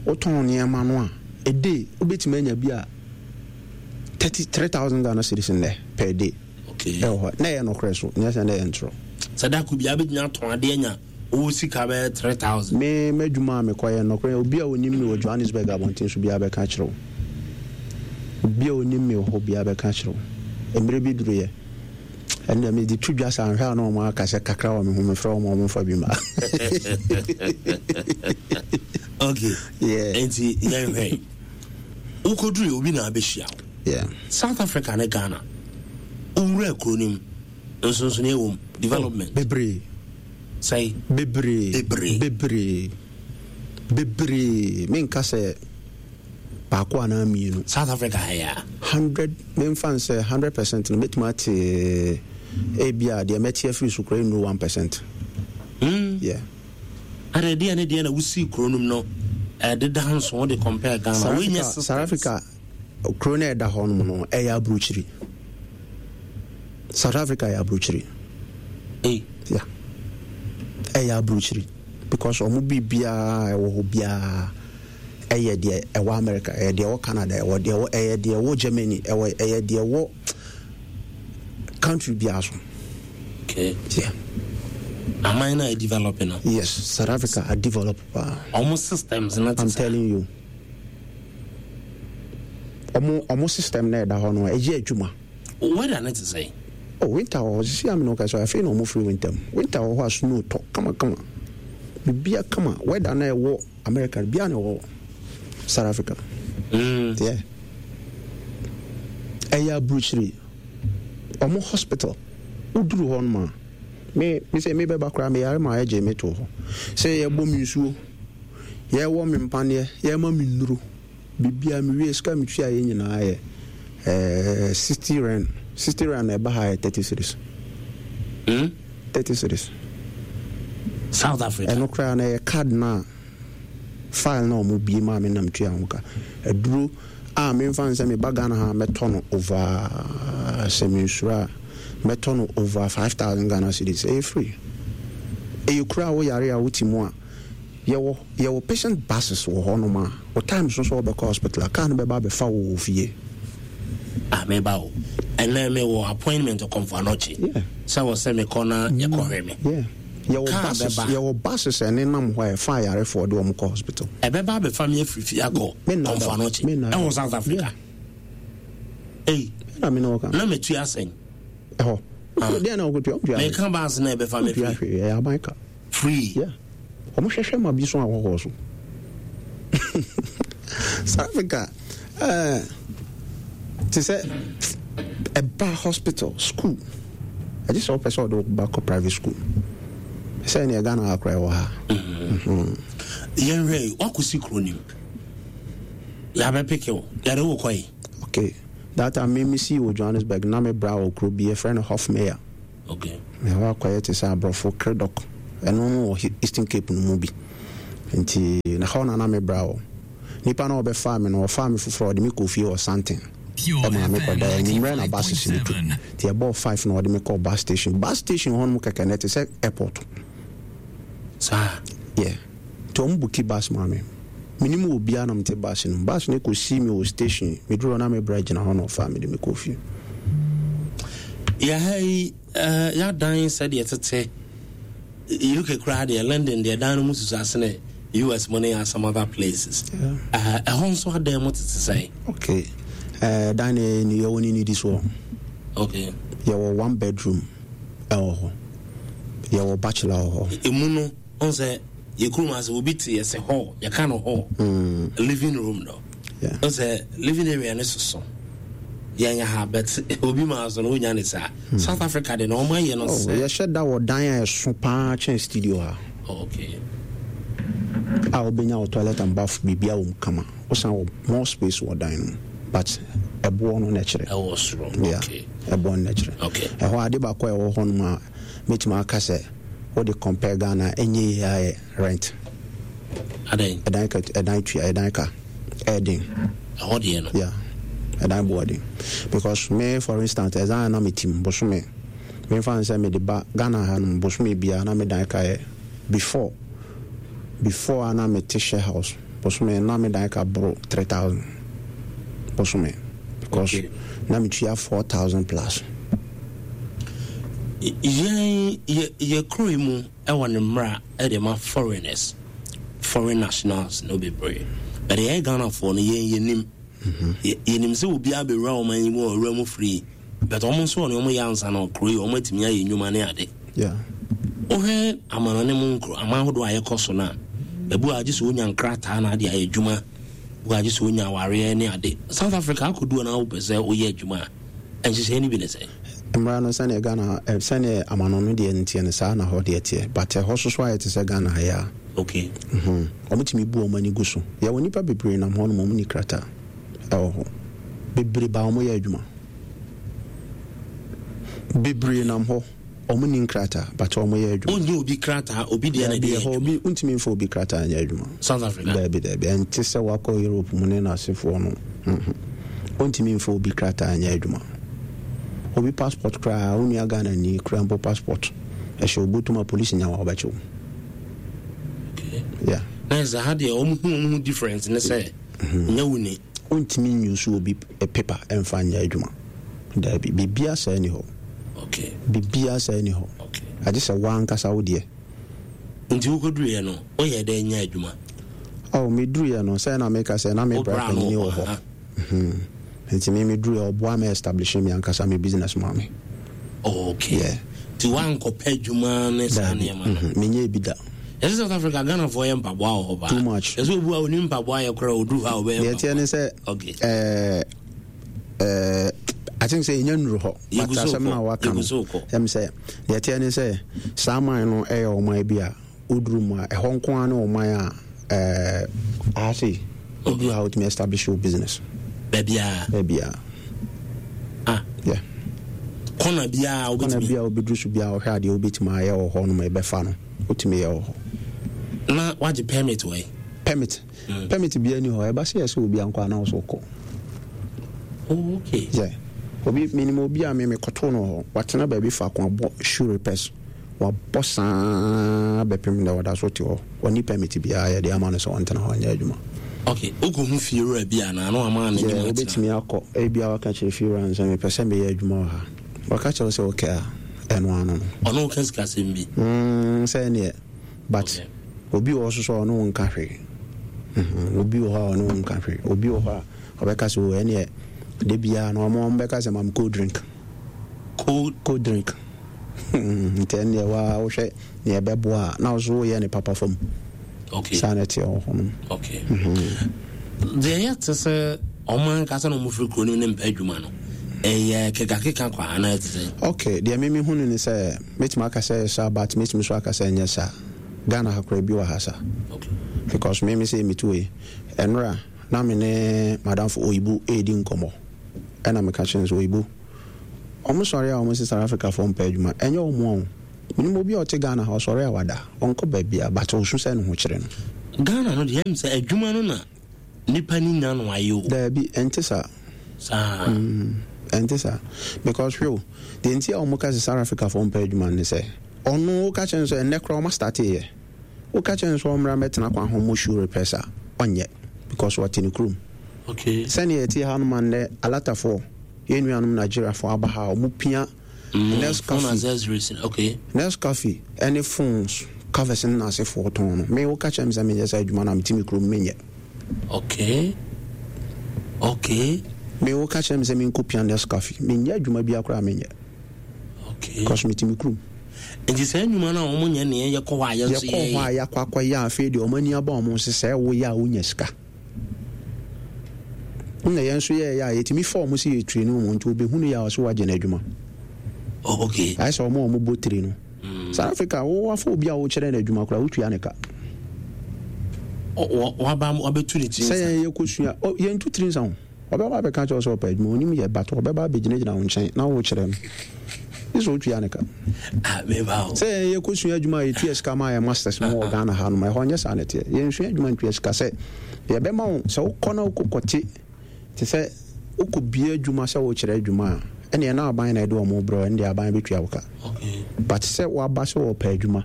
wotɔn nneɛma no a, a day wobɛtumi anya bi a thirty three thousand Ghana cedis nnɛ per day. Okay ɛwɔ hɔ na ɛyɛ nokorɛ so, nyɛ sɛ na ɛyɛ ntorɔ. Sɛ dako bia wobɛtumi atɔn adeɛ anya wowɔ sika bɛyɛ three thousand? Me m'adwuma a mekɔyɛ, nokorɛ, obi a onim me wɔ Johannesburg abɔnten so biara bɛka kyerɛ wo. Obi a onim me wɔ hɔ biara bɛka kyerɛ wo. Mmerɛ bi duruyɛ ɛnna mede to dwa sɛ anhwɛ a na ɔmo aka sɛ kakra wɔ me ho, mefrɛ wɔn a, ɔmo mfa bi ma. Okay yeah. Nti yɛnhwɛ, wokɔduru obi na abɛhyia wo? Yeah. South Africa ne Ghana, wowura kuro no mu, nsonsonoeɛ wɔ mu, development? Oh, bebree. Sɛe? Bebree. Bebree. Bebree, bebree. Menka sɛ baako anaa mmienu. South Africa ha yɛ a? Hundred, memfa n sɛ hundred percent no, mɛtumi ate ebi a deɛ mɛte afiri so koraa nnuru one percent. mm. Yeah. Ada deɛ ne deɛ na wosii kuro no mu no ɛdeda nso wode compare Ghana? South wonyɛ Africa, systems. South Africa kuro no a ɛda hɔ nom no, ɛyɛ aburokyiri. South Africa yɛ aburokyiri. Hey. Yeah, ɛyɛ aburokyiri because ɔmo biribiara ɛwɔ hɔ biara ɛyɛ deɛ ɛwɔ America, ɛyɛ deɛ ɛwɔ Canada, ɛwɔ deɛ ɛwɔ, ɛyɛ deɛ ɛwɔ Germany, ɛwɔ, ɛyɛ deɛ ɛwɔ country biara so. Okay yeah. Aman no a develop no? Yes, South Africa a develop paa. Ɔmo systems no te I'm saa? Telling you, ɔmo ɔmo system na ɛda hɔ no, ɛyɛ adwuma. Weather no te sɛ? Oh, winter wɔ hɔ sisi amina ɔka sɛ afei na ɔmo firi winter mu. Winter wɔ hɔ a snow tɔ kamakama, bibia kama. Weather na ɛwɔ America bia na ɛwɔ South Africa. mm. Yeah, ɛyɛ aburukyiri. Ɔmo hospital, woduru hɔ nom a, me me sɛ me bɛba koraa, meyare ma ɛgye me to hɔ sɛ yɛbɔ me nsuo, yɛwɔ me mpaneɛ, yɛma me nnuro, bibia. Mewie, sika metua yɛ nyinaa yɛ ɛɛ sixty rand. Sixty rand na ɛba ha yɛ thirty cedis. Mm? Thirty cedis. South Africa? Ɛno koraa na ɛyɛ card na file na ɔmo bie maa me nam tua ho ka. Aduro a memfa n sɛ meba Ghana ha mɛtɔ no over, sɛ mensuro a mɛtɔ no over five thousand Ghana cedis, ɛyɛ free. Ɛyɛ kuro a woyare a wote mu a, yɛwɔ yɛwɔ patient buses wɔ hɔnom a wo time so sɛ wobɛkɔ hospital a, car no bɛba abɛfa wo wɔ fie. Ah, meba o, ɛnɛ mewɔ appointment Kɔmfo Anɔkye Yeah. sɛ wɔ sɛ mekɔ na yɛkɔhwɛ me. Yeah, yɛwɔ Car buses. bɛba. Yɛwɔ buses ɛne nam hɔ a ɛfa ayarefoɔ de wɔn kɔ hospital. Ɛbɛba abɛfa me afiri fie akɔ Me nna Kɔmfo da. Anɔkye Me nna da. ɛwɔ South Africa? Ei. Ɛna me na wɔka. Na metua asɛn? Ɛhɔ Ah. deɛ na wɔkɔtua, wotua hwee. Meka bus na ɛbɛfa me wotua free? Hwee, ɛyɛ aban ka. Free? Yeah, ɔmo hwehwɛ ma bi so ahɔhoɔ so. South Africa ɛɛ te sɛ ɛba hospital, school, ɛgye sɛ wopɛ sɛ ɔde wo ba kɔ private school sɛ ɛneɛ Ghana akora ɛwɔ ha. Yɛnhwɛ, wakɔsi kuro nim, yɛabɛpeke wo, yɛde wo kɔe? Okay, that time me me sii wɔ Johannesburg na me bra wɔ kuro bi yɛfrɛ no Hofmeyr. Okay. Ɛhɔ akɔyɛ te sɛ aborɔfo Cradock, ɛno no wɔ Eastern Cape no mu bi. Nti na hɔ na na me bra wɔ. Nipa na ɔbɛfaa me no, ɔfaa me foforɔ, ɔde me kɔ fie wɔ Sandton. Ɛma me kɔda anwummerɛ na bus si me tu. Nti ɛbɔɔ five na ɔde me kɔɔ bus station. Bus station hɔ nom kɛkɛ na ɛte sɛ airport. Saa? Yeah. Nti ɔmo booki bus maa me. Menim wɔ biara na mete bus no mu. Bus no kɔsii me wɔ station. Meduru hɔ na me bra gyina hɔ na ɔfaa me de me kɔɔ fie. Yɛha yi, uh, yɛadan sɛdeɛ tete U K koraa deɛ, London deɛ, dan no mu susu asene U S mo ne some other places. Ɛhɔ uh, nso adan mu tete sɛn? Okay. Uh, dan ne yɛwɔ ne nidi soɔ. Okay. Yɛwɔ one bedroom ɛwɔ hɔ. Yɛwɔ bachelor wɔ hɔ. Emu no, ɔn sɛ yɛ kurom ase obi te yɛsɛ hall, yɛka no hall. Mm. Living room no. Yeah. Ɔn sɛ living area ne soso. Yɛn ha, but obi maa so no wonya ne saa. Hmm. South Africa de na ɔmo ayɛ no oh, sɛ. Yɛhyɛ da wɔ dan a ɛso paa kyɛn studio ha. Oh, okay. A wobɛnya wɔ toilet and bath, biribia wɔ mu kama. Wosan wɔ more space wɔ dan no, but ɛboɔ no na ɛkyerɛ. Ɛwɔ soro. Yeah. Okay. Ɛboɔ no na ɛkyerɛ. Okay. Ɛhɔ ade baako a ɛwɔ hɔ nom a mɛtumi aka sɛ wode compare Ghana, ɛnyɛ yie ayɛ rent. Adan? Ɛdan ka, ɛdan tua, ɛdan ka ɛɛden. Ɛhɔ deɛ no. Yeah, ɛdan boɔ den because me, for instance, ɛdan na me tim bosome, memfa n sɛ mede ba Ghana ha nom, bosome biara na me dan ka yɛ, before before a na mete share house, bosome na me dan ka boro three thousand bosome because Okay. na metua four thousand plus. Yɛn yɛ yɛ kuro yi mu ɛwɔ ne mmara ɛde ma foreigners, foreign nationals no bebree, but yɛyɛ Ghanafoɔ no, yɛn yɛnim Yɛ- yɛnim sɛ obiara bɛwura ɔman yi mu a ɔwura mu free, but ɔmo nso ɔne ɔmo yɛ ansa na kuro yi ɔmo atumi ayɛ nnwuma ne ade. Yeah. Wohwɛ amanɔne mu nkuro aman ahodoɔ a yɛkɔ so no a, ebu a gye sɛ wonya nkrataa na ade ayɛ adwuma, bu a gye sɛ wonya awareɛ ne ade. South Africa akɔdu na wopɛ sɛ woyɛ adwuma a, nhyehyɛeɛ no bi ne sɛ? Mmara no, sɛneɛ Ghana eh, sɛneɛ amano no deɛ nteɛ no, saa na hɔ deɛ teɛ, but ɛhɔ so so ayɛ te sɛ Ghana ha yi a. Okay. Mhm. Ɔmotumi bu ɔmo ani gu so. Yɛwɔ nnipa bebree nam hɔ nom, ɔmo ni krataa ɛwɔ hɔ bebree ba, ɔmo yɛ adwuma bebree nam hɔ, ɔmo ni nkrataa but ɔmo yɛ adwuma. Wonyɛ obi krataa, obi deɛ na Daabi, ɛde yɛ ɛhɔ adwuma? Obi ntumi mfa obi krataa nyɛ adwuma. South Africa? Daabi, daabi, ɛnte sɛ wakɔ Europe mu ne n'asefoɔ no. Mhm. Ɔntumi mfa obi krataa nyɛ adwuma. Obi passport koraa, wo nua Ghana ni koraa mpo passport ɛhyɛ obotom a, polisi nya wa, ɔbɛkye wo. Okay. Yeah. Na ɛsɛ ha deɛ, ɔmo hu ɔmo ho difference ne sɛ nyɛ wo ni. Ɔntumi nyusu obi eh, paper ɛmfa nyɛ adwuma. Daabi, biribia saa ni hɔ. Okay. Biribia saa ni hɔ. Okay. Agye sɛ woankasa wo deɛ. Nti wokɔduruiɛ no, woyɛ dɛ nya adwuma? Oh, meduruiɛ no, sɛ na meka sɛ na me Wo bra bra no panyini wɔ hɔ. Aha. Mhm. Nti me meduruiɛ, ɔboa me establish me ankasa me business ma me. Okay. Yeah. Nti woankɔpɛ adwuma ne saa Daabi. nneɛma no? Mhm. Menyɛ bi da. Yɛsɛ South Africa, Ghanafoɔ yɛ mpaboa wɔ hɔ paa. Too much. Yɛsɛ obu a onim mpaboa yɛ koraa, oduru hɔ a ɔbɛyɛ Deɛ ɛteɛ ne mpaboa. sɛ Okay. ɛɛ ɛɛ I think sɛ ɛnya nnuru hɔ, but Yɛgu so asɛm no a kɔ. waka no Yɛgu so kɔ. ɛm sɛ deɛ ɛteɛ ne sɛ saa man no ɛyɛ ɔman bi a woduru mu a, ɛhɔ nko ara ne ɔman a ɛɛ aha sei woduru ha, wotumi establish your business. Baabiaa? Baabiaa. Ah. Yeah. Kɔna biaa? Kɔna wobɛtumi bi a wobɛduru so biara, wɔhwɛ adeɛ wobɛtumi ayɛ wɔ hɔ nom, ɛbɛfa no, wotumi yɛ wɔ hɔ. Na wagye permit wɔ yi? Permit? Mm. Permit biara ni hɔ. Ɛba sɛ yɛ sɛ obi ankɔ anaa so wokɔ. Oh, okay. Yeah. Obi, menim obi a me mekɔtoo no wɔ hɔ, watena baabi faako abɔ shoe repairs, wabɔ saa bɛpem dɛ ɔda so te hɔ. Ɔni permit biara yɛde ama no sɛ ɔntena hɔ nyɛ adwuma. Okay, wokɔhu fiewura bi anaa na wama ne Yeah, nnwuma tena? wobɛtumi akɔ. Ebia waka kyerɛ fiewura no sɛ mepɛ sɛ meyɛ adwuma wɔ ha. Waka kyerɛ wo sɛ okay a, ɛno ano no. Ɔno woka sikasɛm bi? mm, sɛ neɛ, but Okay. obi wɔ hɔ so sɛ ɔne wo nka hwee. Mhm, obi wɔ hɔ a ɔne wo nka hwee. Obi wɔ hɔ a ɔbɛka sɛ o, ɛneɛ da biara no ɔmo ɔmo bɛka sɛ mam cold drink. Cold? Cold drink. Nti ɛneɛ waa wohwɛ neɛ ɛbɛboa a, na wo so woyɛ ne papa fam. Okay. Saa na ɛteɛ wɔ hɔ nom. Okay, deɛ yɛ te sɛ ɔmo ankasa na ɔmo firi kuro no mu ne mpɛ adwuma no, ɛyɛ kekakeka kwa anaa ɛte sɛ? Okay, deɛ meme hu no ne sɛ mɛtumi aka sɛ ɛyɛ saa, but mɛtumi so aka sɛ ɛnyɛ saa. Ghana ha koraa bi wɔ ha saa. Okay. Because me me sɛ metu wei ɛnora na me ne madamfo Oyibo ɛredi nkɔmmɔ, ɛna meka kyerɛ no sɛ, Oyibo, ɔmo sɔre a ɔmo sɛ South Africa foɔ mpɛ adwuma, ɛnyɛ ɔmo a o. Menim obi a ɔte Ghana ha, ɔsɔre a wada, ɔnkɔ baabi a, but ɔsu sɛ ne ho kyerɛ no. Ghana no deɛ, ɛm sɛ adwuma no na nipa ni nya no ayɛ o. Daabi, ɛnte saa. Saa. Mm, ɛnte saa, because hwɛ o, deɛ nti a ɔmo ka sɛ South Africa foɔ mpɛ adwuma no ne sɛ, ɔno woka kyerɛ no sɛ ɛnnɛ koraa ɔma start yɛ, woka kyerɛ no sɛ ɔmmra mmɛtena kwan ho mmɔ shoe repairs a, ɔnyɛ, because ɔte ne kurom. Okay. Sɛnea yɛte ha nom a, nnɛ alatafoɔ, yɛn nuanom Nigeriafoɔ aba ha a ɔmo pia mm, Nescafe, accessories, okay. Nescafe ɛne phones covers ne n'asefoɔ tɔn no, me woka kyerɛ me sɛ menyɛ saa adwuma no a, mete me kurom, menyɛ. Okay. Okay. Me woka kyerɛ me sɛ menkɔ pia Nescafe, menyɛ adwuma bi koraa, menyɛ. Okay. Because mete me kurom. Nti saa nnwuma no a wɔn nyɛ neɛ yɛkɔ hɔ a yɛn nso yɛkɔ hɔ a yɛakɔ akɔyɛ, afei deɛ ɔmo ani aba ɔmo sɛ sɛ woyɛ a wonya sika, na yɛn nso yɛyɛ a yɛtumi fa ɔmo sɛ yɛtiri no mu, nti obɛhunu yɛ a ɔsɛ wagye no adwuma. Oh, okay. Ayɛ sɛ ɔmo a ɔmo bɔ tiri no. South Africa, wo wafa obi a wokyerɛ no adwuma koraa, wotua ne ka. Waba wabɛtu ne tiri sɛ nsa. Yɛn yɛkɔsua, yɛntu tiri nsa ho. Ɔbɛba abɛka kyerɛ wo sɛ ɔpɛ adwuma, onim yɛ, but ɔbɛba abɛgyinagyina wo nkyɛn na wokyerɛ no ne sɛ wotua ne ka. Ah, meba o. Sɛ yɛn yɛkɔsua adwuma a yɛtua sika ma yɛ masters mu wɔ Ghana ha nom, ɛhɔ nyɛ saa ne teɛ. Yɛnsua adwuma ntua sika sɛ yɛbɛma wo sɛ wokɔ na wokɔkɔte te sɛ wokɔbie adwuma sɛ wokyerɛ adwuma a, ɛneɛ na aban na ɛde ɔmo brɛ, ɛne deɛ aban bɛtua wo ka. Okay. But sɛ woaba sɛ wɔpɛ adwuma,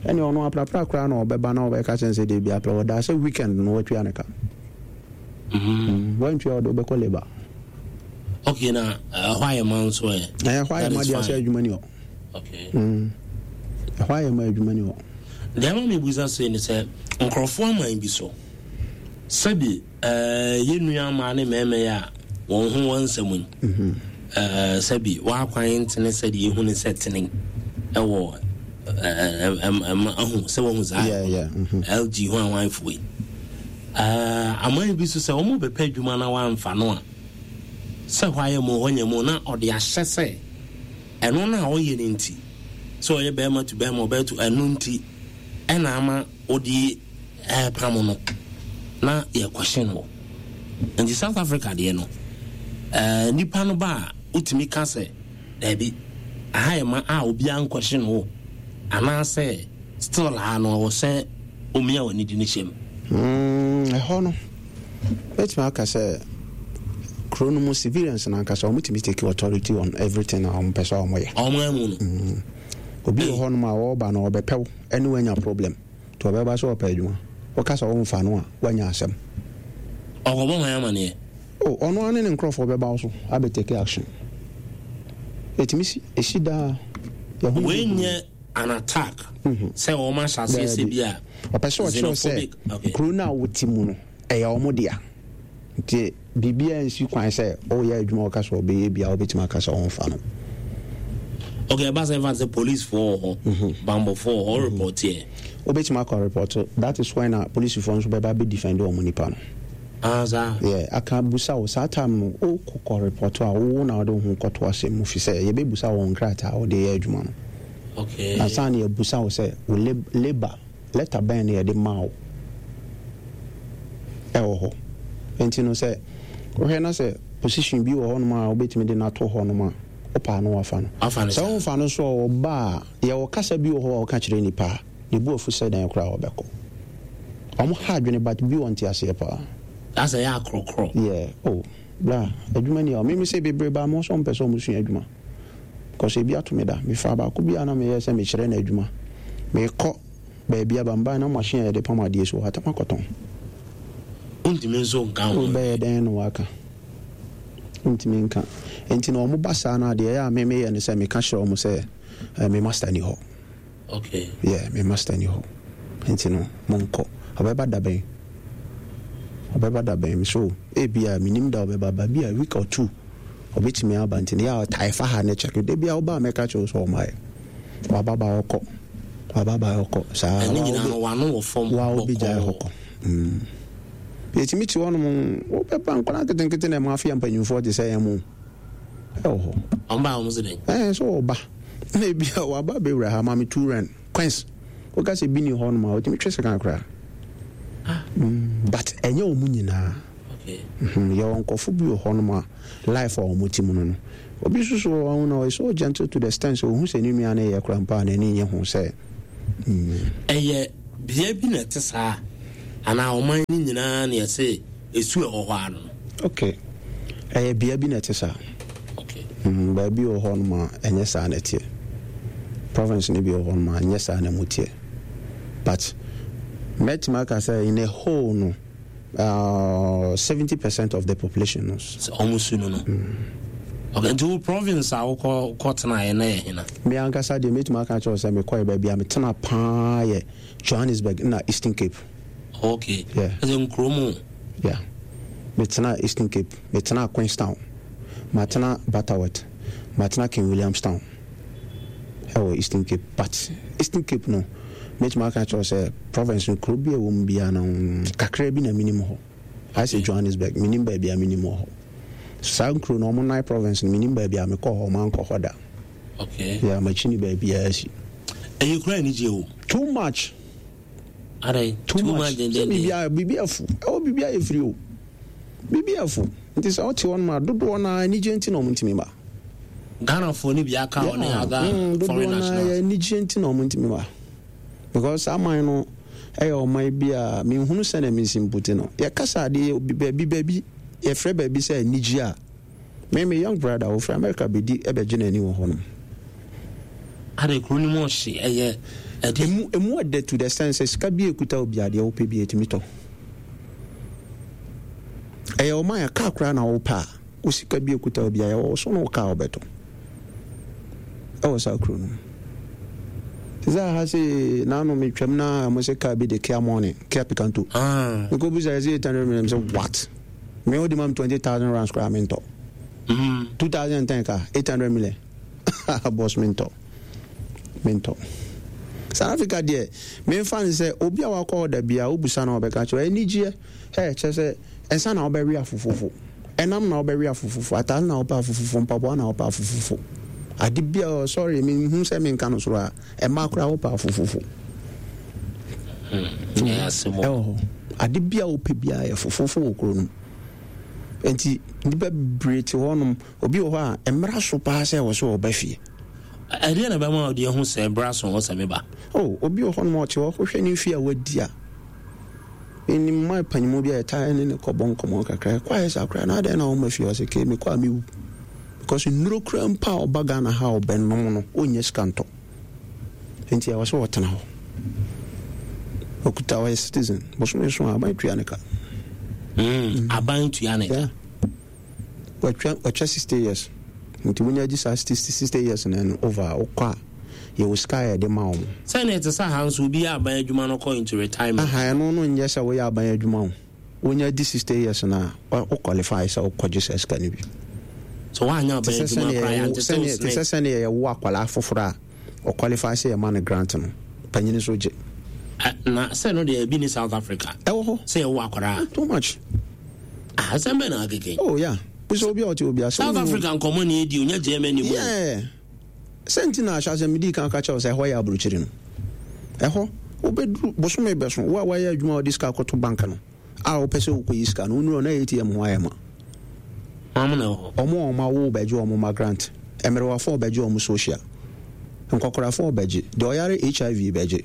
ɛne ɔno aprapra koraa na ɔbɛba na ɔbɛka kyɛn sɛ deɛ bi aprɛ wɔdaa sɛ weekend no watua ne ka. Mm. Wantua, ɔde wobɛkɔ labour. Okay, na ɛhɔ ayɛ ma nso ɛ? Ɛhɔ ayɛ ma deɛ, sɛ adwuma ni hɔ. Okay. Mm. Ɛhɔ ayɛ ma adwuma ni hɔ. Deɛ ama mebusa sei ne sɛ nkurɔfoɔ aman bi so, sɛbi ɛɛ yɛn nua mmaa ne mmarima yi a wɔn ho wɔn nsɛm yi, ɛɛ sɛbi wɔakwan ntene sɛdeɛ ehu ne sɛ tene ɛwɔ ɛɛ ɛma ahu sɛ wɔn ho saa Yeah, yeah, mhm. L G ho awanfoɔ yi, ɛɛ aman bi so sɛ wɔn bɛpɛ adwuma na wɔamfa no a, sɛ hɔ ayɛ mu hɔ nyɛ mu na ɔde ahyɛ sɛ ɛno no a ɔyɛ no nti, sɛ ɔyɛ bɛrima tu bɛrima, ɔbɛyɛ tu ɛno nti ɛna ama ɔde ɛɛpam no na yɛkɔhyɛ no. Nti South Africa deɛ no, ɛɛ nipa no ba a, wotumi ka sɛ daabi, aha yɛ ma a obiara nkɔhyɛ no wɔ, anaasɛ still a no ɔwɔ sɛ omia wɔ ne di ne hyɛ mu? Mm, ɛhɔ no mɛtumi aka sɛ kuro no mu civilians no ankasa ɔmotumi take authority on everything a ɔmopɛ sɛ ɔmoyɛ. Ɔmo amu no. Obi wɔ hɔnom a wɔreba no, ɔbɛpɛw ɛne wanya problem, nti ɔbɛba sɛ ɔpɛ adwuma, woka sɛ womfa no a, woanya asɛm. Ɔkɔbɔ hwan amanneɛ? O, ɔno ara ne ne nkurɔfoɔ bɛba wo so abɛ take action. Ɛtumi si, ɛsi daa, yɛho. Wei nyɛ an attack sɛ wɔn ahyɛ aseɛ sɛ bi a ɔpɛ sɛ ɔkyerɛw sɛ xenophobic, okay. Kuro no a wote mu no ɛyɛ ɔmo dea, nti biribiara nsi kwan sɛ ɔyɛ adwuma, ɔka sɛ ɔbɛyɛ bia, wobɛtumi aka sɛ ɔmfa no. Okay, ɛba sɛ ɛfa sɛ policefoɔ wɔ hɔ, bambɔfoɔ wɔ hɔ, report yɛ? Wobɛtumi akɔ report. That is when a polisifoɔ nso bɛba bɛ defend ɔmo nipa no. Ah, saa. Yeah, aka busa wo saa time no, wokɔkɔ report a, wo na wode wo ho kɔto asɛm mu, fi sɛ yɛbɛbusa wɔn nkrataa a wode yɛ adwuma no. Okay. Ansa na yɛbusa wo sɛ wo lab- labour letter bɛn na yɛde maa wo ɛwɔ hɔ. Nti no sɛ wohwɛ na sɛ position bi wɔ hɔnom a wobɛtumi de no ato hɔnom a, wopaa no, wafa no. Wafa no sɛ saa. Womfa no so a, ɔba a yɛwɔ kasa bi wɔ hɔ a wɔka kyerɛ nipa a ne bu afu sɛ dan koraa wɔbɛkɔ. Ɔmo ha adwene, but bi wɔ nte aseɛ paa. Asɛ yɛ akorɔkorɔ. Yeah, oh bra, adwuma ni a mimi sɛ bebree baa mo sɛ ɔmpɛ sɛ ɔmo sua adwuma, because ebi ato me da, mefa baako bi a na meyɛ sɛ mekyerɛ no adwuma, mekɔ baabi aba mbaa na machine a yɛde pam adeɛ so wɔ hatam akɔtɔn. Wontumi nso nka ho. Wobɛyɛ dɛn na waka? Wontumi nka. Nti na ɔmo ba saa no, adeɛ ɛyɛ a me meyɛ no sɛ meka kyerɛ ɔmo sɛ eh, me master ni hɔ. Okay. Yeah, me master ni hɔ, nti no monkɔ. Ɔbɛba da bɛn? Ɔbɛba da bɛn? So ebia menim da ɔbɛba ba bi a, week or two ɔbɛtumi aba. Nti no yɛ a ɔtae fa ha ne kyɛke da bi a woba a, mɛka kyerɛ wo sɛ ɔmaayɛ, waba ba ɔkɔ, waba ba ɔkɔ saa. Ɛne nyinaa no wano wɔ fam. Wa wobɛgyae hɔ bɔkɔɔ. Kɔ. Mm. Yɛtumi te hɔnom, wobɛba nkwadaa nketenkete na ɛma afei mpanyimfoɔ te sɛ yɛn mu ɛwɔ hɔ. Ɔmo ba, ɔmo sɛ dɛn? Ɛɛ sɛ ɔba na ebi a waba bɛwura ha, ma me two rand coins, woka sɛ bi ni hɔnom a, wotumi twe sika koraa. Ah. Mm, but ɛnyɛ wɔn nyinaa. Okay. Mm-hmm. Yɛwɔ nkɔfo bi wɔ hɔnom a life a wɔn ti mu no no. Obi nso so wɔ hɔ na ɔyɛ so gentle to the extent sɛ ohun sɛ ne nua no yɛ kora mpo a n'ani nye ho sɛ. Mm. Ɛyɛ bea bi na ɛte saa anaa ɔman no nyinaa na yɛsɛ esu ɛwɔ hɔ ano? Okay. Ɛyɛ bea bi na ɛte saa. Okay. Mm, baabi wɔ hɔnom a ɛnyɛ saa na ɛteɛ. Province no bi wɔ hɔnom a ɛnyɛ saa na mu teɛ. But mɛtumi aka sɛ in a whole no, uh, seventy percent of the population no. Sɛ ɔmo su no no. Okay, nti wo province a wokɔ kɔtenaeɛ na yɛ hena? Me ankasa deɛ mɛtumi aka kyerɛ wo sɛ mekɔɛ baabi a metena paa yɛ Johannesburg na Eastern Cape. Okay. Yeah. Ɛsɛ nkuro mu? Yeah. Metena Eastern Cape, metena Queenstown, matena Butterworth, matena King Williamstown ɛwɔ Eastern Cape. But Eastern Cape no, mɛtumi aka kyerɛ wo sɛ province no kuro bi a ɛwɔ mu biara no kakra bi na menim hɔ. Ayɛ sɛ Johannesburg, menim baabi a menim wɔ hɔ. Saa nkuro no, ɔmo nine province no, menim baabi a mekɔɔ hɔ, mankɔ hɔ da. Okay. Yeah, makyi ne baabiara si. Ɛyɛ kura anigye o. Too much. Adɛn? Too much. Sɛ biribi biribi afu. Ɛwɔ biribi ayɛ firi o. Biribi afu. Nti sɛ ɔte hɔ nom a dodoɔ no ara anigye nti na ɔmo ntumi ma. Ghanafoɔ no bi aka hɔ ne other foreign dodoɔ no ara nationals. anigye nti na ɔmo ntumi ma. Because saa man no ɛyɛ ɔman bi a menhunu sɛ na mensi mputi no. Yɛkasa adeɛ baabi baabi yɛfrɛ baabi sɛ anigye a me me young brother ofiri America bɛdi ɛbɛgye n'ani wɔ hɔ nom. Adɛn kuro no mu ɔhye ɛyɛ ɛde. Emu emu ɛdɛ to the sense sɛ sika bi ekuta obi adeɛ wopɛ bi etumi tɔ. Ɛyɛ ɔman a kaa koraa na wopɛ a wo sika bi ekuta obi a yɛwɔ so na wo kaa wobɛtɔ. Ɛwɔ saa kuro no mu. Te sɛ aha sɛ naano metwam na mo sɛ kaa bi de Kia Morning, Kia Picanto. Ah. Mekɔ bisa yɛ sɛ eight hundred million sɛ what? Me wode ma me twenty thousand rands koraa mentɔ. Mm. two thousand and ten car eight hundred million. Boss mentɔ. Mentɔ. South Africa deɛ memfa ne sɛ obi a wakɔ hɔ da bia wobusa na ɔbɛka kyerɛ anigyeɛ ɛ kyerɛ sɛ ɛnsa na wobɛwe afofofo ɛnam na wobɛwe afofofo atare na wopɛ afofofo mpaboa na wopɛ afofofo ade bia oh, sorry menhu sɛ menka no soro a ɛma koraa wopɛ afofofo Ɛyɛ asɛm o. ɛwɔ hɔ ade bia wopɛ biara yɛ fofofo wɔ kuro no mu nti nnipa bebree te hɔnom obi wɔ hɔ a mmara so paa sɛ ɛwɔ sɛ ɔba fie. Ɛdeɛ na bɛma ɔde ahu sɛ bra so wɔ sɛ meba? Oh, obi wɔ hɔnom a ɔte hɔ wohwɛ ne mfie a wadi a menim ma panyimu bi a yɛtaa ne ne kɔbɔ nkɔmmɔ kakra ɛkɔ ayɛ saa koraa na adɛn na wɔma fie ɔsɛ ke mekɔ a mewu because nnuro koraa mpo a ɔba Ghana ha a ɔbɛnom no ɔnnya sika ntɔ nti ɛwɔ sɛ ɔtena hɔ ɔkuta ɔyɛ citizen bosome so a aban tua ne ka. Mm, aban tua ne ka. Yeah. Watwa watwa sixty years nti wonya gye saa sixty sixty years na no over a wokɔ a yɛwɔ sika a yɛde ma wɔn. Sɛnea ɛte sɛ ha nso obi yɛ aban adwuma no kɔ into retirement. Aha ɛno no nyɛ sɛ woyɛ aban adwuma o wonya di sixty years na wo qualify sɛ wokɔgye saa sika no bi. So woanyɛ Te aban sɛ adwuma sɛnea koraa yɛwo yɛante sɛ wo sɛnea te sɛ snake. sɛnea yɛwo akwadaa foforɔ a ɔqualify sɛ yɛma no grant no panyin nso gye. Ɛ, na sɛ no deɛ ebi ne South Africa. Ɛwɔ hɔ. Sɛ yɛwo akwadaa. Too much. Ah, asɛm bɛn na akeke? Oh yeah. Bisa obi a ɔte obi ase. South Africa nkɔmɔ ni edi onya Germany mu. Yeah. Sɛ nti na ahyɛ asɛm medi kan ka kyerɛ wo sɛ ɛhɔ yɛ aburokyiri no. Ɛhɔ wobɛduru bosome bɛso wo a woayɛ adwuma a wode sika akɔto bank no a wopɛ sɛ wokɔyi sika no wonuru hɔ na A T M ho ayɛ ma. Wɔn na ɛwɔ hɔ. Ɔmo a ɔmo awo bɛgye ɔmo ma grant. Mmerewafoɔ bɛgye ɔmo social. Nkɔkorafoɔ bɛgye. Deɛ ɔyare H I V bɛgye.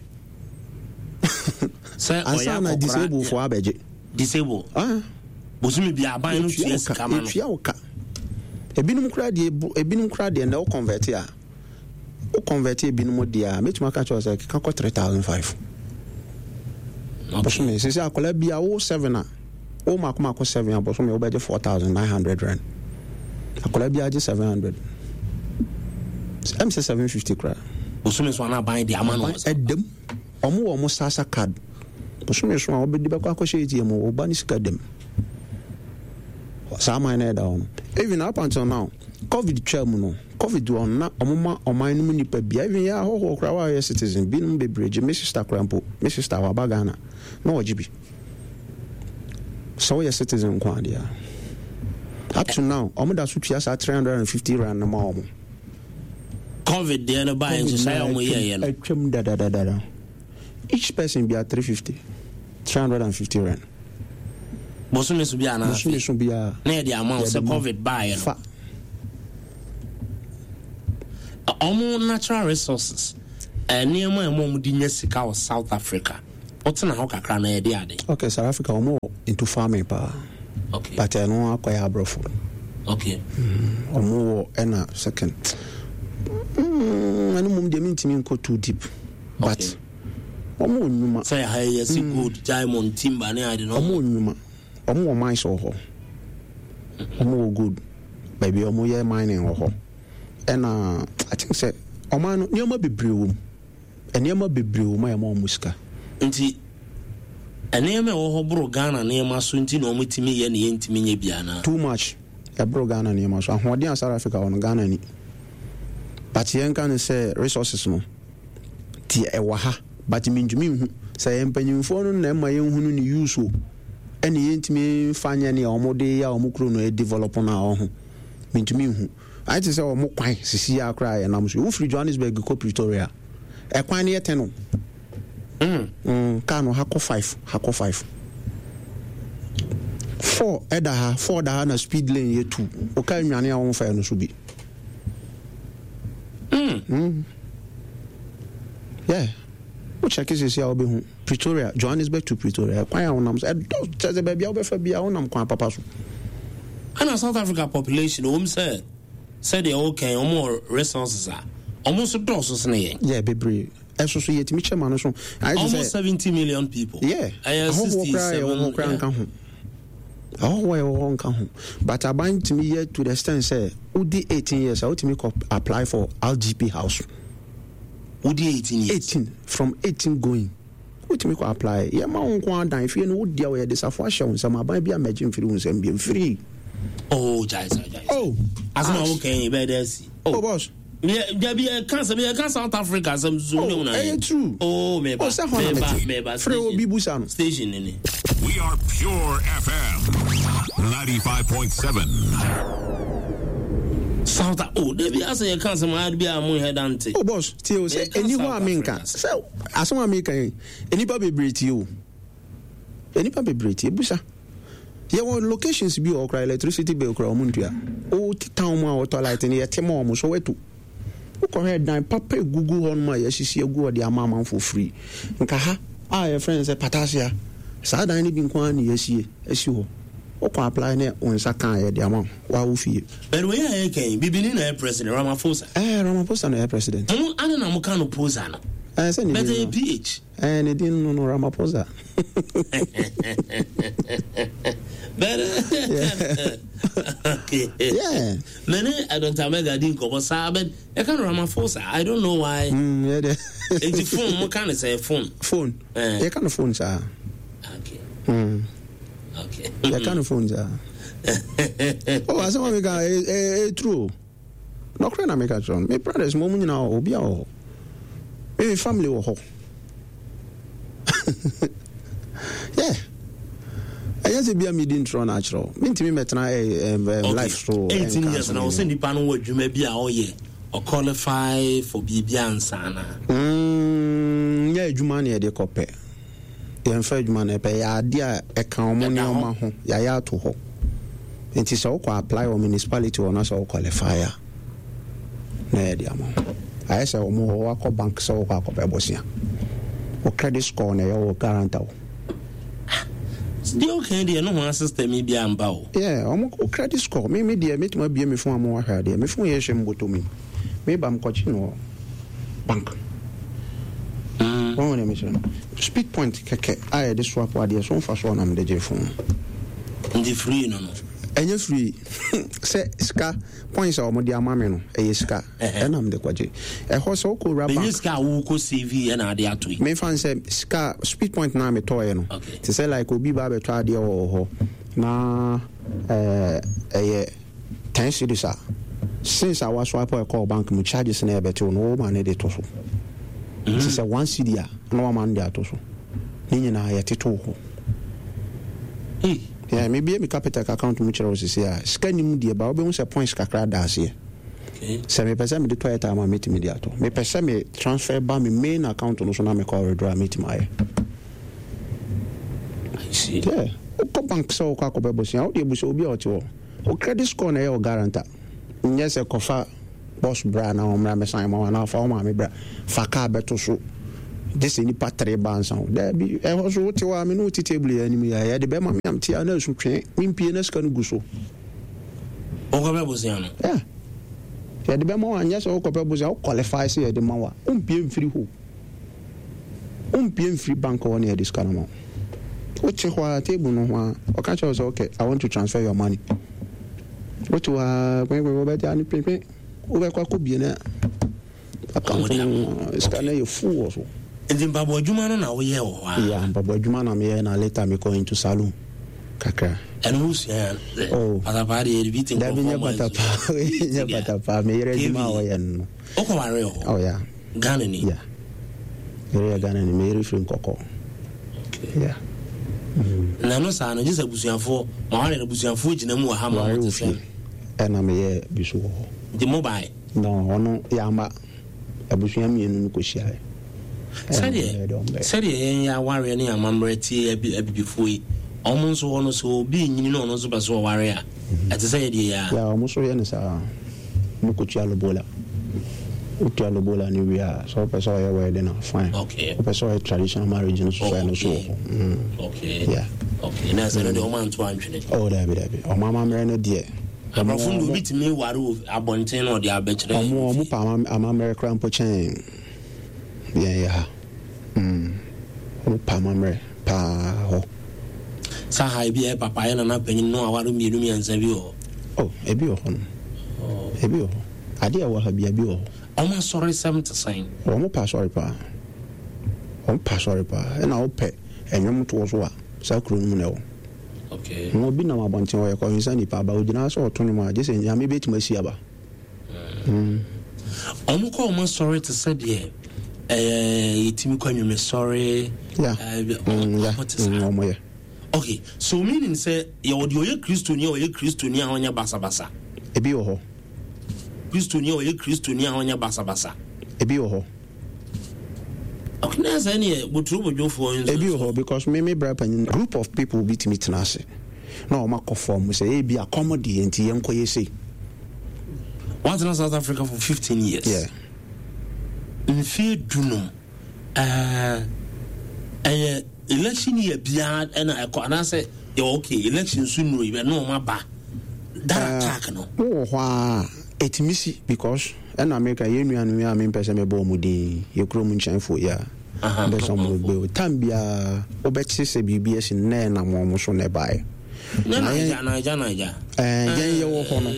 Sɛ ɔyɛ Ansa na akɔkora. Disabled foɔ abɛgye. Disable. Ah. Bosome bi aban no Yɛtua tua wo ka. sika ma no. Yɛtua wo ka. Ebinom koraa deɛ ebinom koraa deɛ na wo convert a wo convert ebinom deɛ a mɛtumi aka kyerɛ wo sɛ keka kɔ three thousand five. Okay. Bosome sisi akwadaa bi a wo seven a wo mako mako seven a bosome wobɛgye four thousand nine hundred rand. Akwadaa bi agye seven hundred. Ɛm sɛ seven fifty koraa. Bosome so ana aban de ama no. Ɛdam ɔmo wɔ ɔmo SASSA card bosome so a wɔbɛde bɛkɔ akɔhyɛ A T M wɔ ɔba ne sika dam saa man no ɛda hɔ no. Even up until now COVID twa mu no, COVID wɔ na ɔmo ma ɔman no mu nipa bia, even yɛ ahɔhoɔ koraa wa yɛ citizen binom bebree gye. Me sister koraa mpo, me sister waba Ghana na ɔgye bi sɛ woyɛ citizen nko adeɛ a up to now ɔmo da so tua saa three hundred and fifty rand no ma ɔmo. COVID deɛ no baa nhyehyɛe a ɔmo yɛɛyɛ no. Atwam dadadadada, each person bia three fifty Three hundred and fifty rand. Bosome so bi anaa? Bosome so biara. Na yɛde ama wo sɛ COVID baeɛ no. Fa. Ɔmo natural resources, nneɛma a ɛma ɔmo de nya sika wɔ South Africa. Wotena hɔ kakra na yɛde ade. Okay, South Africa ɔmo wɔ into farming paa. Okay. But ɛno akɔyɛ aborɔfo. Okay. Ɔmo wɔ ɛna second. Mm, ɛno mmom deɛ mentumi nkɔ too deep. But ɔmo wɔ nnwuma. Sɛ ha yɛ si gold, diamond, timber ne ade no. Ɔmo wɔ nnwuma. Ɔmo wɔ mines wɔ hɔ. Ɔmo wɔ gold. Baabi ɔmo yɛ mining wɔ hɔ. Ɛna I think sɛ ɔman no nneɛma bebree wɔ mu. Nneɛma bebree wɔ mu a ɛma ɔmo sika. Nti nneɛma ɛwɔ hɔ boro Ghana nneɛma so nti na ɔmo tumi yɛ ne yɛntumi nyɛ bi anaa? Too much. Ɛboro Ghana nneɛma so. Ahoɔden a South Africa wɔ no Ghana ni. But yɛnka no sɛ resources no deɛ ɛwɔ ha, but mentumi nhu sɛ yɛn mpanyinfoɔ no na ɛma yɛnhunu ne use o, ɛne yɛntumi mfa nyɛ nea wɔn de yɛ a wɔn kuro no develop no a ɔho mentumi nhu. Ayɛ te sɛ wɔn kwan sisi yɛ akora a yɛnam so. Wofiri Johannesburg kɔ Pretoria, ɛkwan no yɛ ten o. Mm. Mm, kaa no ha kɔ five, ha kɔ five. Four ɛda ha, four da ha na speed lane yɛ two. O kaa nwane a wɔn fa yɛ no so bi. Mm. Mm. Yeah. Wo check sisi a wobɛhu Pretoria, Johannesburg to Pretoria. Kwan a wonam so ɛdɔ kyerɛ sɛ baabi a wobɛfa bi a wonam kwan papa so. Ɛna South Africa population wɔm sɛ sɛdeɛ wɔkɛn wɔn wɔ resources a wɔn nso dɔɔso sene yɛn. Yeah, bebree. Ɛso so yɛtumi kyɛ ma no so. Ayɛ te sɛ Almost seventy million people. Yeah. Ɛyɛ Ahɔhoɔ koraa yɛwɔ hɔ koraa yeah. nka ho. Ahɔhoɔ yɛwɔ hɔ nka ho. But aban tumi yɛ to the extent sɛ wodi eighteen years a wotumi kɔ apply for R G P house. Wodi eighteen years. eighteen, from eighteen going wotumi kɔ apply. Yɛma wo nko adan fie no wodi a wɔyɛ de safo ahyɛ wo nsam, aban bi a mɛgye mfiri wo nsam bi mfiri. Oh, gyae sa, gyae sa. Oh. Asɛm a wokɛn yi bɛyɛ dɛ asi. Oh, boss. Dabi, yɛka sɛ yɛka South Africa asɛm so Oh, ne wo na ɛyɛ true. Oh, meba. Oh, sɛ hɔ na Meba, mete. meba. Frɛ obi busa no. Station ne ni. We are Pure F M ninety-five point seven. South, oh, dabi, asɛ yɛka asɛm a bi a mo nhɛ dante. Oh boss, tie o, sɛ Meka ɛni hɔ a South menka Africa. sɛ asɛm a meka yi, nnipa bebree tie o, nnipa bebree tie busa. Yɛwɔ locations bi wɔ hɔ koraa, electricity bill koraa ɔmo ntua. O town mu a wɔtɔ light no yɛte ma ɔmo so watu. Wokɔhwɛ dan papa egugu hɔ nom a yɛasisi agu hɔ de ama amanfoɔ free. Nka ha a yɛfrɛ no sɛ Patasia, saa dan no bi nko ara na yɛasie asi hɔ. Wokɔ apply ne wo nsa ka a, yɛde ama wo waa wo fie. But wei a yɛka yi, bibini na ɛyɛ president, Ramaphosa. Ɛɛ, Ramaphosa na ɛyɛ president. Mo ane na moka no posa no. Ɛɛ, sɛ ne But din ɛyɛ no P H. Ɛɛ, ne din no no Ramaphosa. But okay. Yeah. Mene uh, Doctor Mega di nkɔmɔ saa, but ɛka no Ramaphosa. I don't know why. Mm, yeah, de. Nti phone mo ka no sɛ phone. Phone. Eh. Yɛka no phone saa. Okay. Mm. Okay. Yɛka no phone saa. Oh, asɛm a meka ɛ ɛ ɛ true o. Nɔkorɛ na meka kyerɛ no. Me brothers mo mu nyinaa wɔ hɔ, obi a wɔ hɔ. Me me family wɔ hɔ. Yeah. Ɛnyɛ sɛ bia medi ntorɔ no akyerɛ wo. Mentumi mɛtena ɛ ɛ ɛ life so. eighteen ɛnka years asɛm na wɔ sɛ bi. nipa no wɔ adwuma bi a ɔyɛ, ɔqualify for biribi ansa na. Mm, nyɛ adwuma na yɛde kɔpɛ. Yɛmfa adwuma no ɛpɛ, yɛ adeɛ a ɛka ɔmo Ɛda hɔ. nneɛma ho, yɛayɛ ato hɔ. Nti sɛ wokɔ apply wɔ municipality hɔ na sɛ wo qualify a, na yɛde ama wo. Ayɛ sɛ ɔmo hɔ wakɔ bank sɛ wokɔ akɔpɛ bosea, wo credit score na ɛyɛ wo guarantor wo. Deɛ ɔka deɛ no ho system yi bi amba o. Yeah, ɔmo wo credit score. Me me deɛ metumi abie me phone ama wahwɛ adeɛ. Me phone yɛ hyɛ mbɔtɔ mi, me ba mkɔkye no wɔ bank. Mm. Wɔn wɔn mekyerɛ no speed point kɛkɛ a yɛde swap adeɛ so nfa so ɔnam de gye phone. Nti free no no. Ɛnyɛ free, sɛ sika points a wɔde ama me no ɛyɛ sika Ɛhɛ. ɛnam de kɔgye ɛhɔ sɛ wokɔ wura Bɛnyɛ bank. Sika a wokɔ save ɛna ade ato yi. Mefa n sɛ sika speed point na metɔɔyɛ no, Okay. te sɛ like obi ba bɛtɔ adeɛ wɔ hɔ na ɛɛ, ɛyɛ ten cedis a, since a waswipe ɛkɔɔ bank mu, charges na ɛbɛtew no woma ne de to so. Te sɛ one cedi a na wama no de ato so, ne nyinaa yɛtetew hɔ. Hey. Yeah, mebie me Capitec account mu kyerɛ wo sisi a, sika nim deɛ ba wobɛhu sɛ points kakra da aseɛ. Okay. Sɛ mepɛ sɛ mede tɔ airtime a, mɛtumi de atɔ. Mepɛ sɛ me transfer ba me main account no so na mekɔ withdraw a, mɛtumi ayɛ. see. Yeah. Wokɔ bank sɛ wokɔ akɔpɛ bosea, wode abusa obi a ɔte hɔ. Wo credit score na ɛyɛ wo guarantor. Nyɛ sɛ kɔfa boss bra na ɔmmra mmɛsan ma wo anaa fa wo maame bra fa car bɛto so gye sɛ nnipa tere ba ansa wo. Daabi, ɛhɔ so wote hɔ a me ne wo te table yi anim yi a yɛde bɛma me a mete a na asu twee mempie na sika no gu so. Wokɔpɛ bosea no? Yeah. Yɛde bɛma wo a nyɛ sɛ wokɔpɛ bosea, wo qualify sɛ yɛde ma wo a wompie mfiri hɔ. Wompue mfiri bank hɔ na yɛde sika no ma wo. Wote hɔ ara, table no ho ara, ɔka kyerɛ wo sɛ, okay, I want to transfer your money. Wote hɔ ara, kwenkwen, wobɛte ano kwenkwen, wobɛkɔ akɔbie na account no, sika no yɛ full wɔ so. Nti mpaboa adwuma no na woyɛ wɔ hɔ a? Yeah, mpaboa adwuma na meyɛ na later mekɔ into saloon kakra. Ɛno wosua ya? Oh. Patapaa deɛ yɛde bi te Dabi nkurɔfoɔ nyɛ mma nso. patapaa, nyɛ patapaa, meyere adwuma a ɔyɛ no no. Wokɔwaree wɔ hɔ? Oh yeah. Ghana ni? Yeah. Yere yɛ Ghana ni, me yere firi Nkɔkɔ. Okay. Yeah. Mm. Na no saa no, gye sɛ abusuafoɔ, ma ware no abusuafoɔ gyina mu wɔ ha ma Ware wɔte wɔ sɛ. fie, ɛna meyɛ bi so wɔ hɔ. Nti mo bae? No, ɔno yɛamba. Abusua mmienu no kɔhyiaeɛ. Sɛdeɛ sɛdeɛ yɛn yɛ awareɛ ne amammerɛ tie abi abibifoɔ yi, wɔn nso hɔ no sɛ obi renyini na ɔno nso pɛ sɛ ɔware a, ɛte sɛ yɛdeɛ yi ara. Yeah, wɔn nso yɛ no saa. Wɔkɔtua lobola. Wotua lobola no wie a, sɛ wopɛ sɛ ɔyɛ wedding a, fine. Okay. Wopɛ sɛ ɔyɛ traditional marriage no nso so a, ɛno nso wɔ hɔ. Mm. Okay. Yeah. Okay. Na ɛsɛ no deɛ wɔn anto antwene. Oh, daabi, daabi. Wɔn amammerɛ no deɛ. Aborɔfo no deɛ obi tumi ware wɔ abɔnten na ɔde abɛkyerɛ. Wɔn wɔn pɛ amammerɛ koraa mpo kyɛn yɛn yɛ ha. Mm. Wɔn pɛ amammerɛ paa hɔ. Saa ha ebi yɛ papa yɛ nana panyin no aware mmienu mmiɛnsa bi wɔ hɔ. Oh, ebi wɔ hɔ no. Ebi wɔ hɔ. Adeɛ a ɛwɔ ha bia bi wɔ hɔ. Wɔn asɔresɛm te sɛn? Wɔn pɛ asɔre paa. Wɔn pɛ asɔre paa. Ɛna wopɛ ɛnwom toɔ so a, saa kuro no mu na ɛwɔ. Okay. Na obi nam abɔnten ɔyɛ kɔnsa nipa aba ogyina hɔ sɛ ɔto nwom a, gye sɛ Nyame bɛtumi asi aba. Mm. Wɔn kɔ wɔn asɔre te sɛ deɛ ɛɛ yɛtumi kɔ anwumesɔre. Yeah. Ɛɛ Mm, yeah. wɔn te saa. Mm, wɔn yɛ. Okay, so meaning sɛ yɛwɔ deɛ ɔyɛ Kristoni a ɔyɛ Kristoni a ɔnyɛ basabasa. Ebi wɔ hɔ. Kristoni a ɔyɛ Kristoni a ɔnyɛ basabasa. Ebi wɔ hɔ. Okay, na sɛ neɛ boturobodwofoɔ nso. Ebi wɔ hɔ because me me bra panyin group of people bi tumi tena ase na wɔn akɔ fam sɛ ebi akɔm deɛ nti yɛn kɔ yɛ sei. Watena South Africa for fifteen years. Yeah. Mfie dunum. Ɛɛ ɛyɛ election year biara ɛna ɛkɔ anaasɛ yɛ okay election so nnuro yi ɛna wɔn aba that uh, attack no. Wowɔ hɔ a ɛtumi si because ɛna meka yɛn nuanom yi a mempɛ sɛ mebɔ wɔn din yɛ kurom nkyɛnfoɔ yi a mpɛ sɛ wɔn bɛ o tam biara wobɛte sɛ biribi asi no na ɛnam wɔn so na ɛbaeɛ. Na yɛn yɛn yɛwɔ hɔ no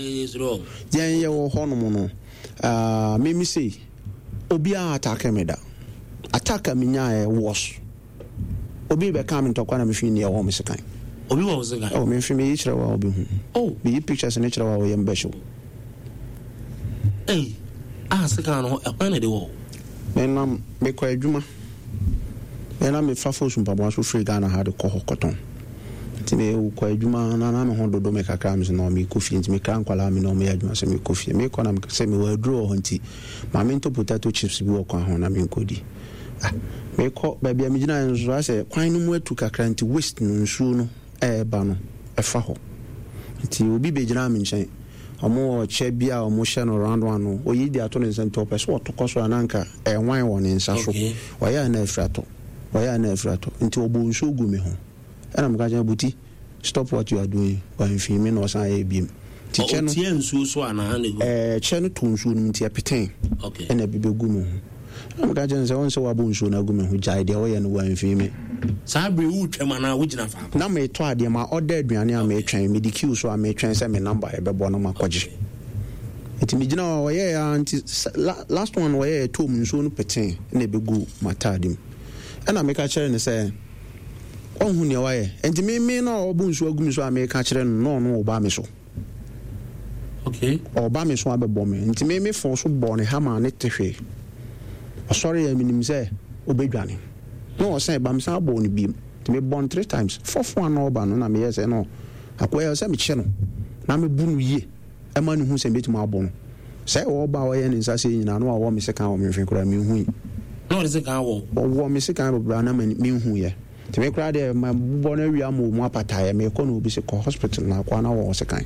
yɛn yɛwɔ hɔ nom no mimi sei obiara attack me da. Attack a menyaeɛ was obi bɛkaa me ntɔkwa na mehwee ni ɛwɔ me sekan. Obi wɔ wo sekan? Oh, memfe meyi kyerɛ wo a wobɛhu. Oh. Meyi pictures no kyerɛ wo a wo yam bɛhyew. Ei, ah sekan no ɛhwan na ɛde wɔ wo? Menam mekɔ adwuma. Me na mefa Fosu mpaboa so firi Ghana ha de kɔ hɔ kɔtɔn. Nti mekɔ adwuma na na me ho dodo me kakra me sɛ no mekɔ fie nti mekra nkwadaa me ne wɔn yɛ adwuma sɛ mekɔ fie. Mekɔ na sɛ mewɔ aduro wɔ hɔ nti ma mentɔ potato chips bi wɔ kwan ho na menkɔdi. Ah, mekɔ baabi a megyinaeɛ no nso asɛ kwan no mu atu kakra nti waste no nsuo no ɛreba no ɛfa hɔ. Nti obi bɛgyinaa me nkyɛn. Wɔn wɔ kyɛ bi a wɔhyɛ no round one no, oyi de ato ne nsa nti ɔpɛ sɛ ɔto kɔ soro a na anka ɛnwan wɔ ne nsa so. Ɔyɛ a na afiri atɔ, ɔyɛ a na afiri atɔ. Nti ɔbɔɔ nsuo guu me ho. Ɛna meka kyerɛ no, Buti, stop what you are doing. Wamfii me na ɔsan yɛɛ biom. Nti kyɛ no. Ɔtiaa nsuo so anaa na egu? Ɛɛ, kyɛ no too nsuo no mu nti ɛpetee. Okay. Ɛna ebi bɛgu me ho. Ɛna meka kyerɛ no sɛ, Wohu sɛ woabɔ nsuo no agu me ho, gyae deɛ woyɛ no, wamfii me. Saa bere yi woretwam anaa wogyina faako? Na meretɔ adeɛ, ma order aduane a meretwɛn, mede queue so a meretwɛn sɛ me number ɛbɛbɔ na makɔgye. Nti megyina hɔ a ɔyɛɛ ara nti last one ɔyɛɛ ɛtɔɔ mu nsuo no petee na ɛbɛgu m'ataade mu. Ɛna meka kyerɛɛ no sɛ, Woahu nea wayɛ? Nti me me na ɔrebɔ nsuo agu me so a mereka kyerɛ no na ɔno ɔreba me so. Okay. Ɔreba me so abɛbɔ me. Nti me me fɔn so bɔɔ ne ha maa ne te hwee. Ɔsɔreeɛ menim sɛ ɔbɛdwane. Na ɔsan ba mesan bɔɔ no biom. Nti mebɔɔ no three times. Fourth one na ɔreba no na meyɛɛ sɛ no akoa yi ɛwɔ sɛ mekyɛ no na mebu no yie ɛma no hu sɛ mɛtumi abɔ no. Sɛ ɔreba a ɔyɛ ne nsa sei nyinaa na wawɔ me sekan wɔ me mfe koraa menhui. Na ɔde sekan wɔ wo? Ɔwɔ me sekan bebree a na menhuiɛ. Nti me koraa deɛ, mabobɔ no awie ama ɔmu apataeɛ, mekɔ na obi sɛ kɔ hospital na akoa na wɔwɔ sekan.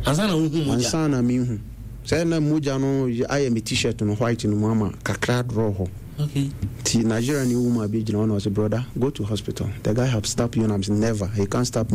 Ansa na wohu mogya? Ansa na mehu sɛ na mogya no ayɛ me T-shirt no white no mu ama kakra dorɔ hɔ. Okay nti Nigeria ni woman bi gyina hɔ na ɔsɛ, "Brother, go to hospital, the guy have stopped you." And I'm saying, "Never, he can't stop."